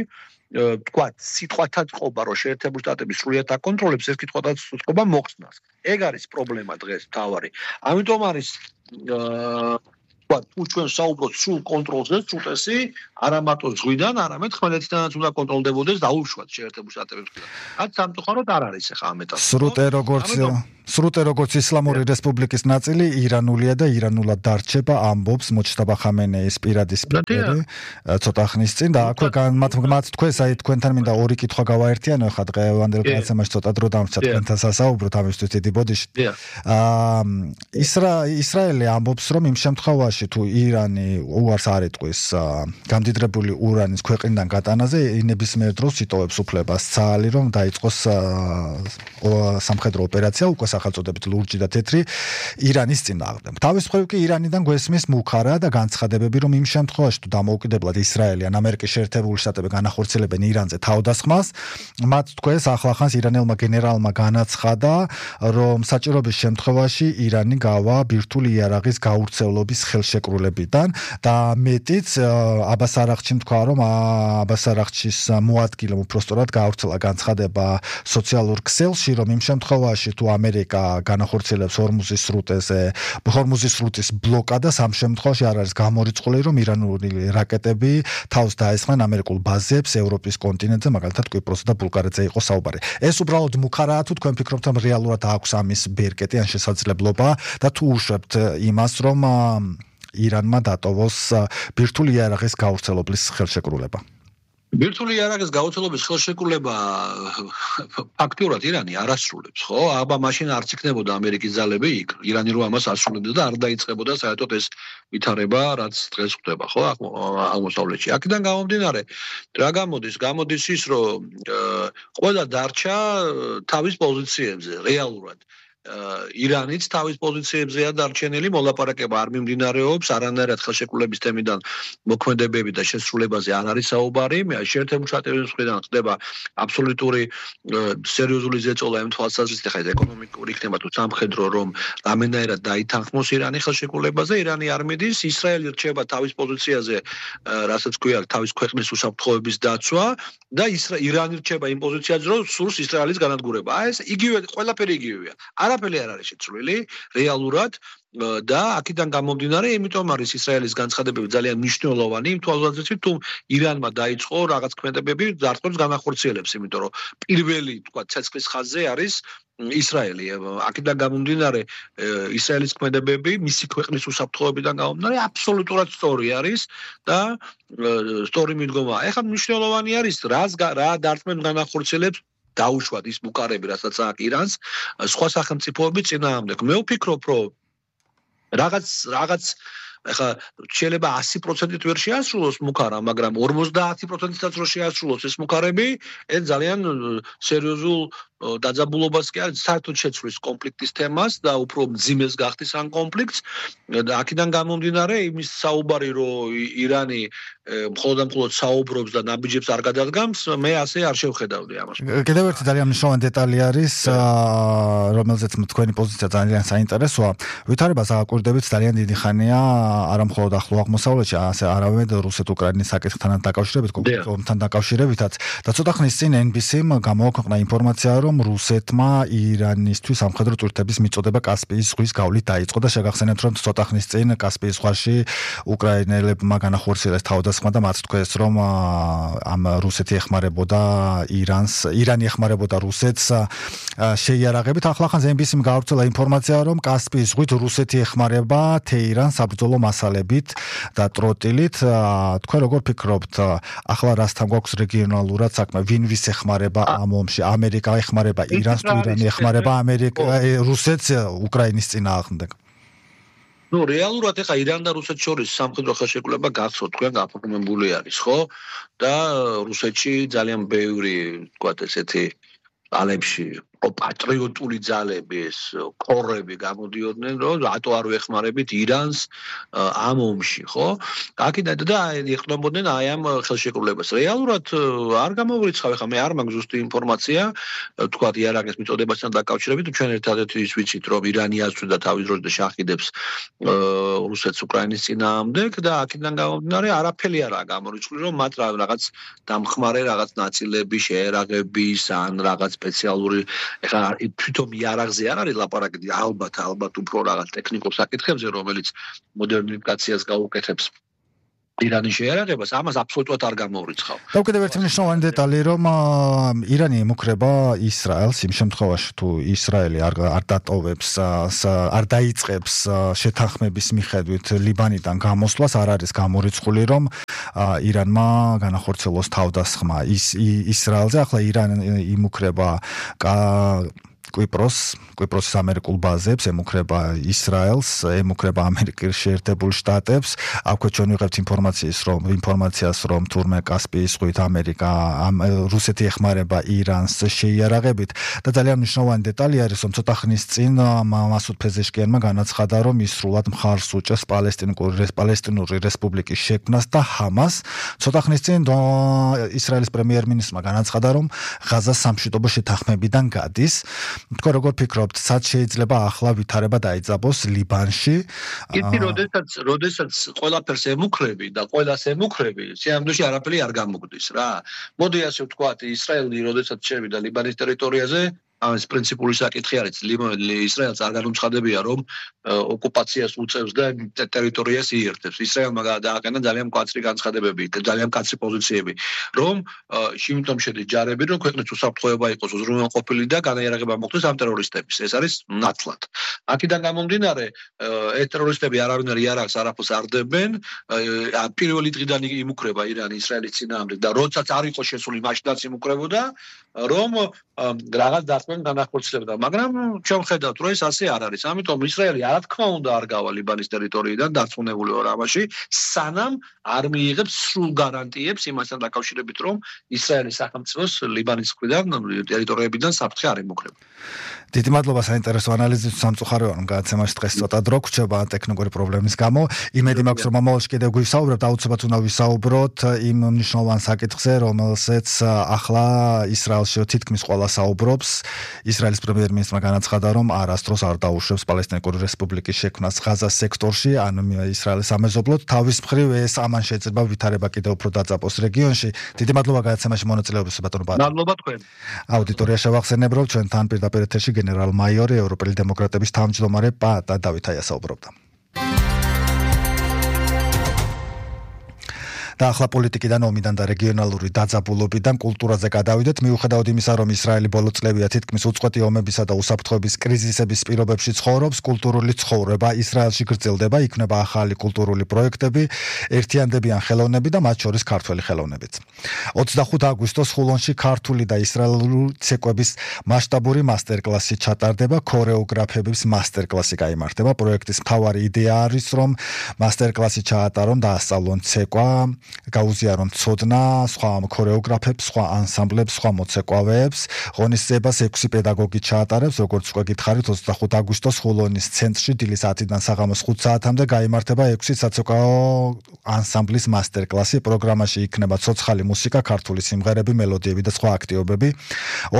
თქვა სიტყვათა წყობა, რომ შეერთებული შტატები სრულიად აკონტროლებს, ეს კითხვათა წყობა მოხსნას. ეგ არის პრობლემა დღეს თავარი. ამიტომ არის თქვა თუ ჩვენ საუბრობთ სრულ კონტროლზე, სრუტესი არა მარტო ზღვიდან, არამედ ხმელეთიდანაც უნდა კონტროლდებოდეს დაუშვათ შეერთებული შტატებისგან. რაც სამწუხაროდ არ არის ახლა ამ ეტაპზე. სრუტე როგორც სრუტე როგორც ისლამური რესპუბლიკის ნაწილი ირანულია და ირანულად დარჩება, ამბობს მოჩტაბა ხამენეის პირადი სპიკერი ცოტა ხნის წინ და აქვე მათ მათ თქვენს აი თქვენთან მინდა ორი კითხვა გავაერთიანო ხა დღევანდელ გადაცემაში ცოტა დრო დამრჩა თქვენთან სასაუბროთ ამისთვის დიდი ბოდიში. აა ისრაელი ამბობს რომ იმ შემთხვევაში თუ ირანი უარს არ ეტყვის გამდიდრებული ურანის ქვეყნიდან გატანაზე ნებისმიერ დროს იტოვებს უფლებას ცალი რომ დაიწყოს სამხედრო ოპერაცია უკვე სახელწოდებით ლურჯი და თეთრი ირანის წინააღმდეგ. თავის მხრივ კი ირანიდან გვესმის მუხარა და განცხადებები რომ იმ შემთხვევაში თუ დამოუკიდებლად ისრაელი ან ამერიკის შეერთებული შტატები განახორციელებენ ირანზე თავდასხმას, მათ თქვენს ახლახანს ირანელმა გენერალმა განაცხადა, რომ საჭიროების შემთხვევაში ირანი გავა ბირთვული იარაღის გაურცევლობის ხელშეკრულებიდან და მეტიც აბას არაღჩიმ თქვა რომ აბას არაღჩის მოადგილემ უпростоრად გაავრცელა განცხადება სოციალურ ქსელში რომ იმ შემთხვევაში თუ ამერიკა განახორციელებს ჰორმუზის სრუტეზე ჰორმუზის სრუტის ბლოკადას ამ შემთხვევაში არ არის გამორიცხული რომ ირანული რაკეტები თავს დაესხნენ ამერიკულ ბაზებს ევროპის კონტინენტზე მაგალითად კვიპროსსა და ბულგარეთზე იყო საუბარი. ეს უბრალოდ მუხარაა თუ თქვენ ფიქრობთ რომ რეალურად აქვს ამის ბერკეტი ან შესაძლებლობა და თუ უშვებთ იმას რომ ირანმა დატოვოს ბირთვული იარაღის გავრცელების ხელშეკრულება. ბირთვული იარაღის გავრცელების ხელშეკრულება ფაქტურად ირანი არ ასრულებს, ხო? აბა მაშინ არც იქნებოდა ამერიკის ძალები იქ. ირანი რო ამას ასრულებდა და არ დაიწყებოდა საერთოდ ეს ვითარება, რაც დღეს ხდება, ხო? აღმოსავლეთში. აქედან გამომდინარე, რა გამოდის? გამოდის ის, რომ ყველა დარჩა თავის პოზიციებზე, რეალურად. ირანიც თავის პოზიციებზეა დარჩენილი, მოლაპარაკება არ მიმდინარეობს, არანაირად ხელშეკრულების თემიდან მოქმედებები და შესრულებაზე არ არის საუბარი. შეერთებული შტატების მხრიდან ხდება აბსოლუტური სერიოზული ზეწოლა იმ თვალსაზრისით, ხა ეკონომიკური იქნება თუ სამხედრო, რომ რამენაირად დაითანხმოს ირანი ხელშეკრულებაზე, ირანი არ მიდის, ისრაელი რჩება თავის პოზიციაზე, რასაც ქვია, თავის ქვეყნის უსაფრთხოების დაცვა და ირანი რჩება იმ პოზიციაზე, რომ სურს ისრაელის განადგურება. აი ეს იგივე ყველაფერი იგივეა. არაფერი არ არის შეცვლილი რეალურად და აქედან გამომდინარე, იმიტომ არის ისრაელის განცხადებები ძალიან მნიშვნელოვანი იმ თვალსაზრისით, თუ ირანმა დაიწყო რაღაც ქმედებები ძარცმებს განახორციელებს, იმიტომ რომ პირველი, თქვა, ცეცხლის ხაზზე არის ისრაელი. აქედან გამომდინარე, ისრაელის ქმედებები მისი ქვეყნის უსაფრთხოებიდან გამომდინარე აბსოლუტურად სწორი არის და სწორი მიდგომა. ეხლა მნიშვნელოვანი არის რას რა დარწმენ განახორციელებს დაუშვათ ის მუყარები, რასაც აქვს ირანს, სხვა სახელმწიფოების წინააღმდეგ. მე ვფიქრობ, რომ რაღაც რაღაც ეხლა შეიძლება ასი პროცენტით ვერ შეასრულოს მუხარა, მაგრამ ორმოცდაათი პროცენტითაც რო შეასრულოს ეს მუხარები, ეს ძალიან სერიოზულ დაძაბულობას კი არის საერთოდ შეცვლის კონფლიქტის თემას და უფრო მძიმეს გახდის ამ კონფლიქტს და აქედან გამომდინარე იმის საუბარი რომ ირანი მხოლოდ და მხოლოდ საუბრობს და ნაბიჯებს არ გადადგამს მე ასე არ შევხედავდი ამას. კიდევ ერთი ძალიან მნიშვნელოვანი დეტალი არის რომელზეც თქვენი პოზიცია ძალიან საინტერესოა. ვითარებას აკვირდებით ძალიან დიდი ხანია არა მხოლოდ ახლო აღმოსავლეთში ასე არავედ რუსეთ-უკრაინის საკითხთან დაკავშირებით კონფლიქტთან დაკავშირებითაც და ცოტა ხნის წინ ენ ბი სი-მ გამოაქვეყნა ინფორმაცია რომ რუსეთმა ირანისთვის სამხედრო წვრთნების მიწოდება კასპიის ზღვის გავლით დაიწყო და შეგახსენებთ რომ ცოტა ხნის წინ კასპიის ზღვაში უკრაინელებმა განახორციელეს თავდასხმა და მათ თქვეს რომ ამ რუსეთი ეხმარებოდა ირანს ირანი ეხმარებოდა რუსეთს შეიარაღებით ახლა ხანს ენ ბი სი-მ გავრცელა ინფორმაცია რომ კასპიის ზღვით რუსეთი ეხმარება თეირანს საბრძოლო მასალებით და ტროტილით თქვენ როგორ ფიქრობთ ახლა რასთან გვაქვს რეგიონალურად საქმე ვინ ვის ეხმარება ამ ომში ამერიკა ეხმარება ირანს თუ ირანი ეხმარება ამერიკა რუსეთს უკრაინის წინააღმდეგ ნუ რეალურად ეხა ირან და რუსეთ შორის სამხედრო ხელშეკრულება გახსოვთ თქვენ გაფორმებული არის ხო და რუსეთში ძალიან ბევრი თქვათ ესეთი ძალებში პატრიოტული ძალები ეს კორები გამოდიოდნენ რომ რატო არ ვეხმარებით ირანს ამ ომში ხო აქედან და ეხმარებოდნენ აი ამ ხელშეკრულებას რეალურად არ გამოვრიცხავ ხა მე არ მაქვს ზუსტი ინფორმაცია თქვათ იარაღის მიწოდებასთან დაკავშირებით ჩვენ ერთადერთი ის ვიცით რომ ირანი აწვდა თავის დროზე და შახიდებს რუსეთს უკრაინის წინააღმდეგ და აქედან გამომდინარე არაფერი არაა გამორიცხული რომ მათ რაღაც დამხმარე რაღაც ნაწილები შეერაღების ან რაღაც სპეციალური ეხლა თვითონ იარაღზე არ არის ლაპარაკი ალბათ ალბათ უფრო რაღაც ტექნიკურ საკითხებზე რომელიც მოდერნიფიკაციას გაუკეთებს ირანის შეერაღებას ამას აბსოლუტურად არ გამოვრიცხავ. და კიდევ ერთი მნიშვნელოვანი დეტალი რომ ირანი ემუქრება ისრაელს იმ შემთხვევაში თუ ისრაელი არ არ დატოვებს არ დაიწყებს შეთანხმების მიხედვით ლიბანიდან გამოსვლას არ არის გამორიცხული რომ ირანმა განახორციელოს თავდასხმა ის ისრაელზე ახლა ირანი ემუქრება კვიპროს კვიპროსის ამერიკულ ბაზებს ემუქრება ისრაელს ემუქრება ამერიკის შეერთებულ შტატებს აქვე ჩვენ ვიღებთ ინფორმაციის რომ ინფორმაციას რომ თურმე კასპიის ზღვით ამერიკა რუსეთი ეხმარება ირანს შეიარაღებით და ძალიან მნიშვნელოვანი დეტალი არის რომ ცოტა ხნის წინ მასუდ ფეზეშკიანმა განაცხადა რომ ის სრულად მხარს უჭერს პალესტინური პალესტინური რესპუბლიკის შექმნას და ჰამას ცოტა ხნის წინ ისრაელის პრემიერ-მინისტრმა განაცხადა რომ ღაზას სამშვიდობო შეთანხმებიდან გადის თქვენ როგორ ფიქრობთ, სად შეიძლება ახლა ვითარება დაიძაბოს ლიბანში? იცი, როდესაც როდესაც ყველაფერს ემუქრები და ყველას ემუქრები, სიამოვნებაში არაფერი არ გამოგვდის რა. მოდი ასე ვთქვათ, ისრაელი როდესაც შევიდა ლიბანის ტერიტორიაზე, ეს პრინციპული საკითხი არის. ისრაელს არ განუცხადებია, რომ ოკუპაციას უწევს და ტერიტორიას იერთებს. ისრაელმა დააყენა ძალიან მკვაცრი განცხადებები, ძალიან მკვაცრი პოზიციები, რომ შემდგომ შედის ჯარები, რომ ქვეყნის უსაფრთხოება იყოს უზრუნველყოფილი და განაიარაღება მოხდეს ამ ტერორისტების. ეს არის ნათლად. აქედან გამომდინარე, ეს ტერორისტები არავინ იარაღს არაფერს არ დებენ, პირველი დღიდან იმუქრება ირანი ისრაელის წინააღმდეგ და როდესაც არ იყო შესული, მაშინაც იმუქრებოდა, რომ რაღაც დასმენ განახორციელებდა, მაგრამ ჩვენ ხედავთ, რომ ეს ასე არ არის. ამიტომ ისრაელი რა თქმა უნდა არ გავა ლიბანის ტერიტორიიდან დარწმუნებული ვარ ამაში, სანამ არ მიიღებს სრულ გარანტიებს იმასთან დაკავშირებით, რომ ისრაელის სახელმწიფოს ლიბანის მხრიდან ტერიტორიებიდან საფრთხე არ ემუქრება. დიდი მადლობა საინტერესო ანალიზისთვის სამწუხაროა რომ გადაცემაში დღეს ცოტა დრო გრჩება ტექნიკური პრობლემის გამო. იმედი მაქვს რომ მომავალში კიდევ გვისაუბრებთ, აუცილებლად უნდა ვისაუბროთ იმ მნიშვნელოვან საკითხზე, რომელზეც ახლა ისრაელში თითქმის ყველა საუბრობს. ისრაელის პრემიერ-მინისტრმა განაცხადა, რომ არასდროს არ დაუშვებს პალესტინური რესპუბლიკის შექმნას ღაზას სექტორში, ან ისრაელის სამეზობლოდ. თავის მხრივ ეს ამან შეიძლება ვითარება კიდევ უფრო დაძაბოს რეგიონში. დიდი მადლობა გადაცემაში მონაწილეობისთვის ბატონო ბატონო. მადლობა თქვენ. აუდიტორია შევახსენებ, რომ ჩვენთან პირდაპირ ეთერში გენერალ-მაიორი ევროპელი დემოკრატების თავმჯდომარე პაატა დავითაია საუბრობდა. და ახლა პოლიტიკიდან, ომიდან და რეგიონალური დაძაბულობიდან კულტურაზე გადავიდეთ. მიუხედავად იმისა, რომ ისრაელი ბოლო წლებია თითქმის უწყვეტი ომებისა და უსაფრთხოების კრიზისების პირობებში ცხოვრობს, კულტურული ცხოვრება ისრაელში გრძელდება, იქმნება ახალი კულტურული პროექტები, ერთიანდებიან ხელოვნები და მათ შორის ქართველი ხელოვნებიც. ოცდახუთი აგვისტოს ხულონში ქართული და ისრაელური ცეკვების მასშტაბური მასტერკლასი ჩატარდება, ქორეოგრაფების მასტერკლასი გაიმართება. პროექტის მთავარი იდეა არის, რომ მასტერკლასი ჩაატარონ და ასწავლონ ცეკვა გაუზიარონ ცოდნა სხვა ქორეოგრაფებს, სხვა ანსამბლებს, სხვა მოცეკვავეებს. ღონისძიებას ექვსი პედაგოგი ჩაატარებს, როგორც უკვე გითხარით, ოცდახუთი აგვისტოს ხულონის ცენტრში დილის ათიდან საღამოს ხუთ საათამდე გაიმართება ექვსი საცეკვაო ანსამბლის მასტერკლასი. პროგრამაში იქნება ცოცხალი მუსიკა, ქართული სიმღერები, მელოდიები და სხვა აქტივობები.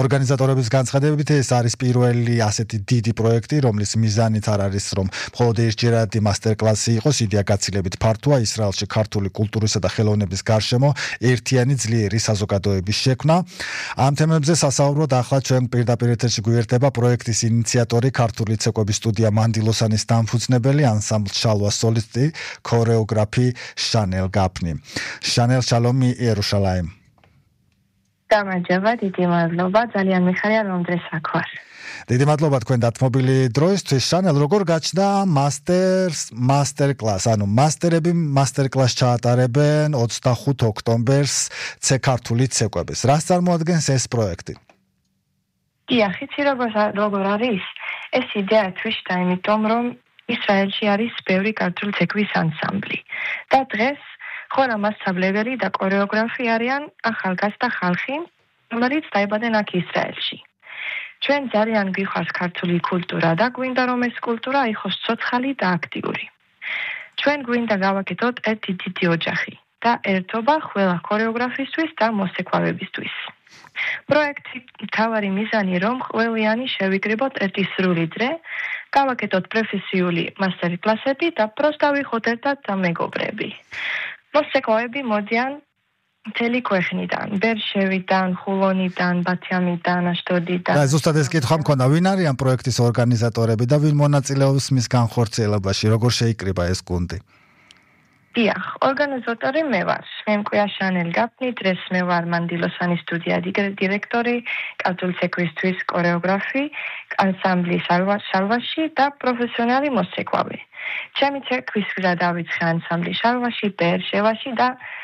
ორგანიზატორების განცხადებით ეს არის პირველი ასეთი დიდი პროექტი, რომლის მიზანით არ არის, რომ მხოლოდ ერთჯერადი მასტერკლასი იყოს, იდეა გაცილებით ფართოა, ისრაელში ქართული კულტურისა და ხელოვნების გარშემო ერთიანი ძლიერი საზოგადოების შექმნა. ამ თემებზე სასაუბროდ ახლა ჩვენ პირდაპირ ეთერში გვერდება პროექტის ინიციატორი, ქართული ცეკვების სტუდია მანდილოსანის დამფუძნებელი, ანსამბლ შალვას სოლისტი, ქორეოგრაფი შანელ გაფნი. შანელ, შალომი იერუშალაიმ. გამარჯობა, დიდი მადლობა, ძალიან მიხარია რომ დღეს აქ ვარ. დიდი მადლობა თქვენ დათმობილი დროისთვის. შანელ, როგორ გაჩნდა მასტერს მასტერკლას, ანუ მასტერები მასტერკლასს ჩაატარებენ ოცდახუთი ოქტომბერს ცე ქართული ცეკვების. რას წარმოადგენს ეს პროექტი? დიახ, იცი როგორ როგორ არის? ეს იდეა თვითონ იმიტომ რომ ისრაელში არის ბევრი ქართული ცეკვის ანსამბლი და დღეს ხორა მასწავლებელი და ქორეოგრაფი არიან ახალგაზრდა ხალხი, რომელიც დაიბადნენ აქ ისრაელში. ჩვენ ძალიან გვიხარს ქართული კულტურა და გვინდა რომ ეს კულტურა იყოს ცოცხალი და აქტიური. ჩვენ გვინდა გავაკეთოთ ერთი დიდი ოჯახი და ერთობა ყველა ქორეოგრაფისტვის და მოსეკვავებისთვის. პროექტი თავარი მიზანი რომ ყველიანი შევიკრიბოთ ერთი სრული დღე, გავაკეთოთ პროფესიული მასტერკლასები და პროსტა ვიხოთ ერთად და მეგობრები. მოსეკვავები მოდიან მთელი ქვეყნიდან, ბერშევიდან, ხულონიდან, ბათიამიდან, აშდოდიდან. და ზუსტად ეს კითხვა მქონდა, ვინ არიან პროექტის ორგანიზატორები და ვინ მონაწილეობს მის განხორციელებაში, როგორ შეიკრიბა ეს გუნდი? დიახ, ორგანიზატორი მე ვარ. მე მქვია შანელ გაფნი, დღეს მე ვარ მანდილოსანის სტუდია დირექტორი, ქართული ცეკვისთვის ქორეოგრაფი, ანსამბლი შალვაში და პროფესიონალი მოსეკვავე. ჩემი ცეკვის გზა დავიწყე ანსამბლი შალვაში, ბერშევაში და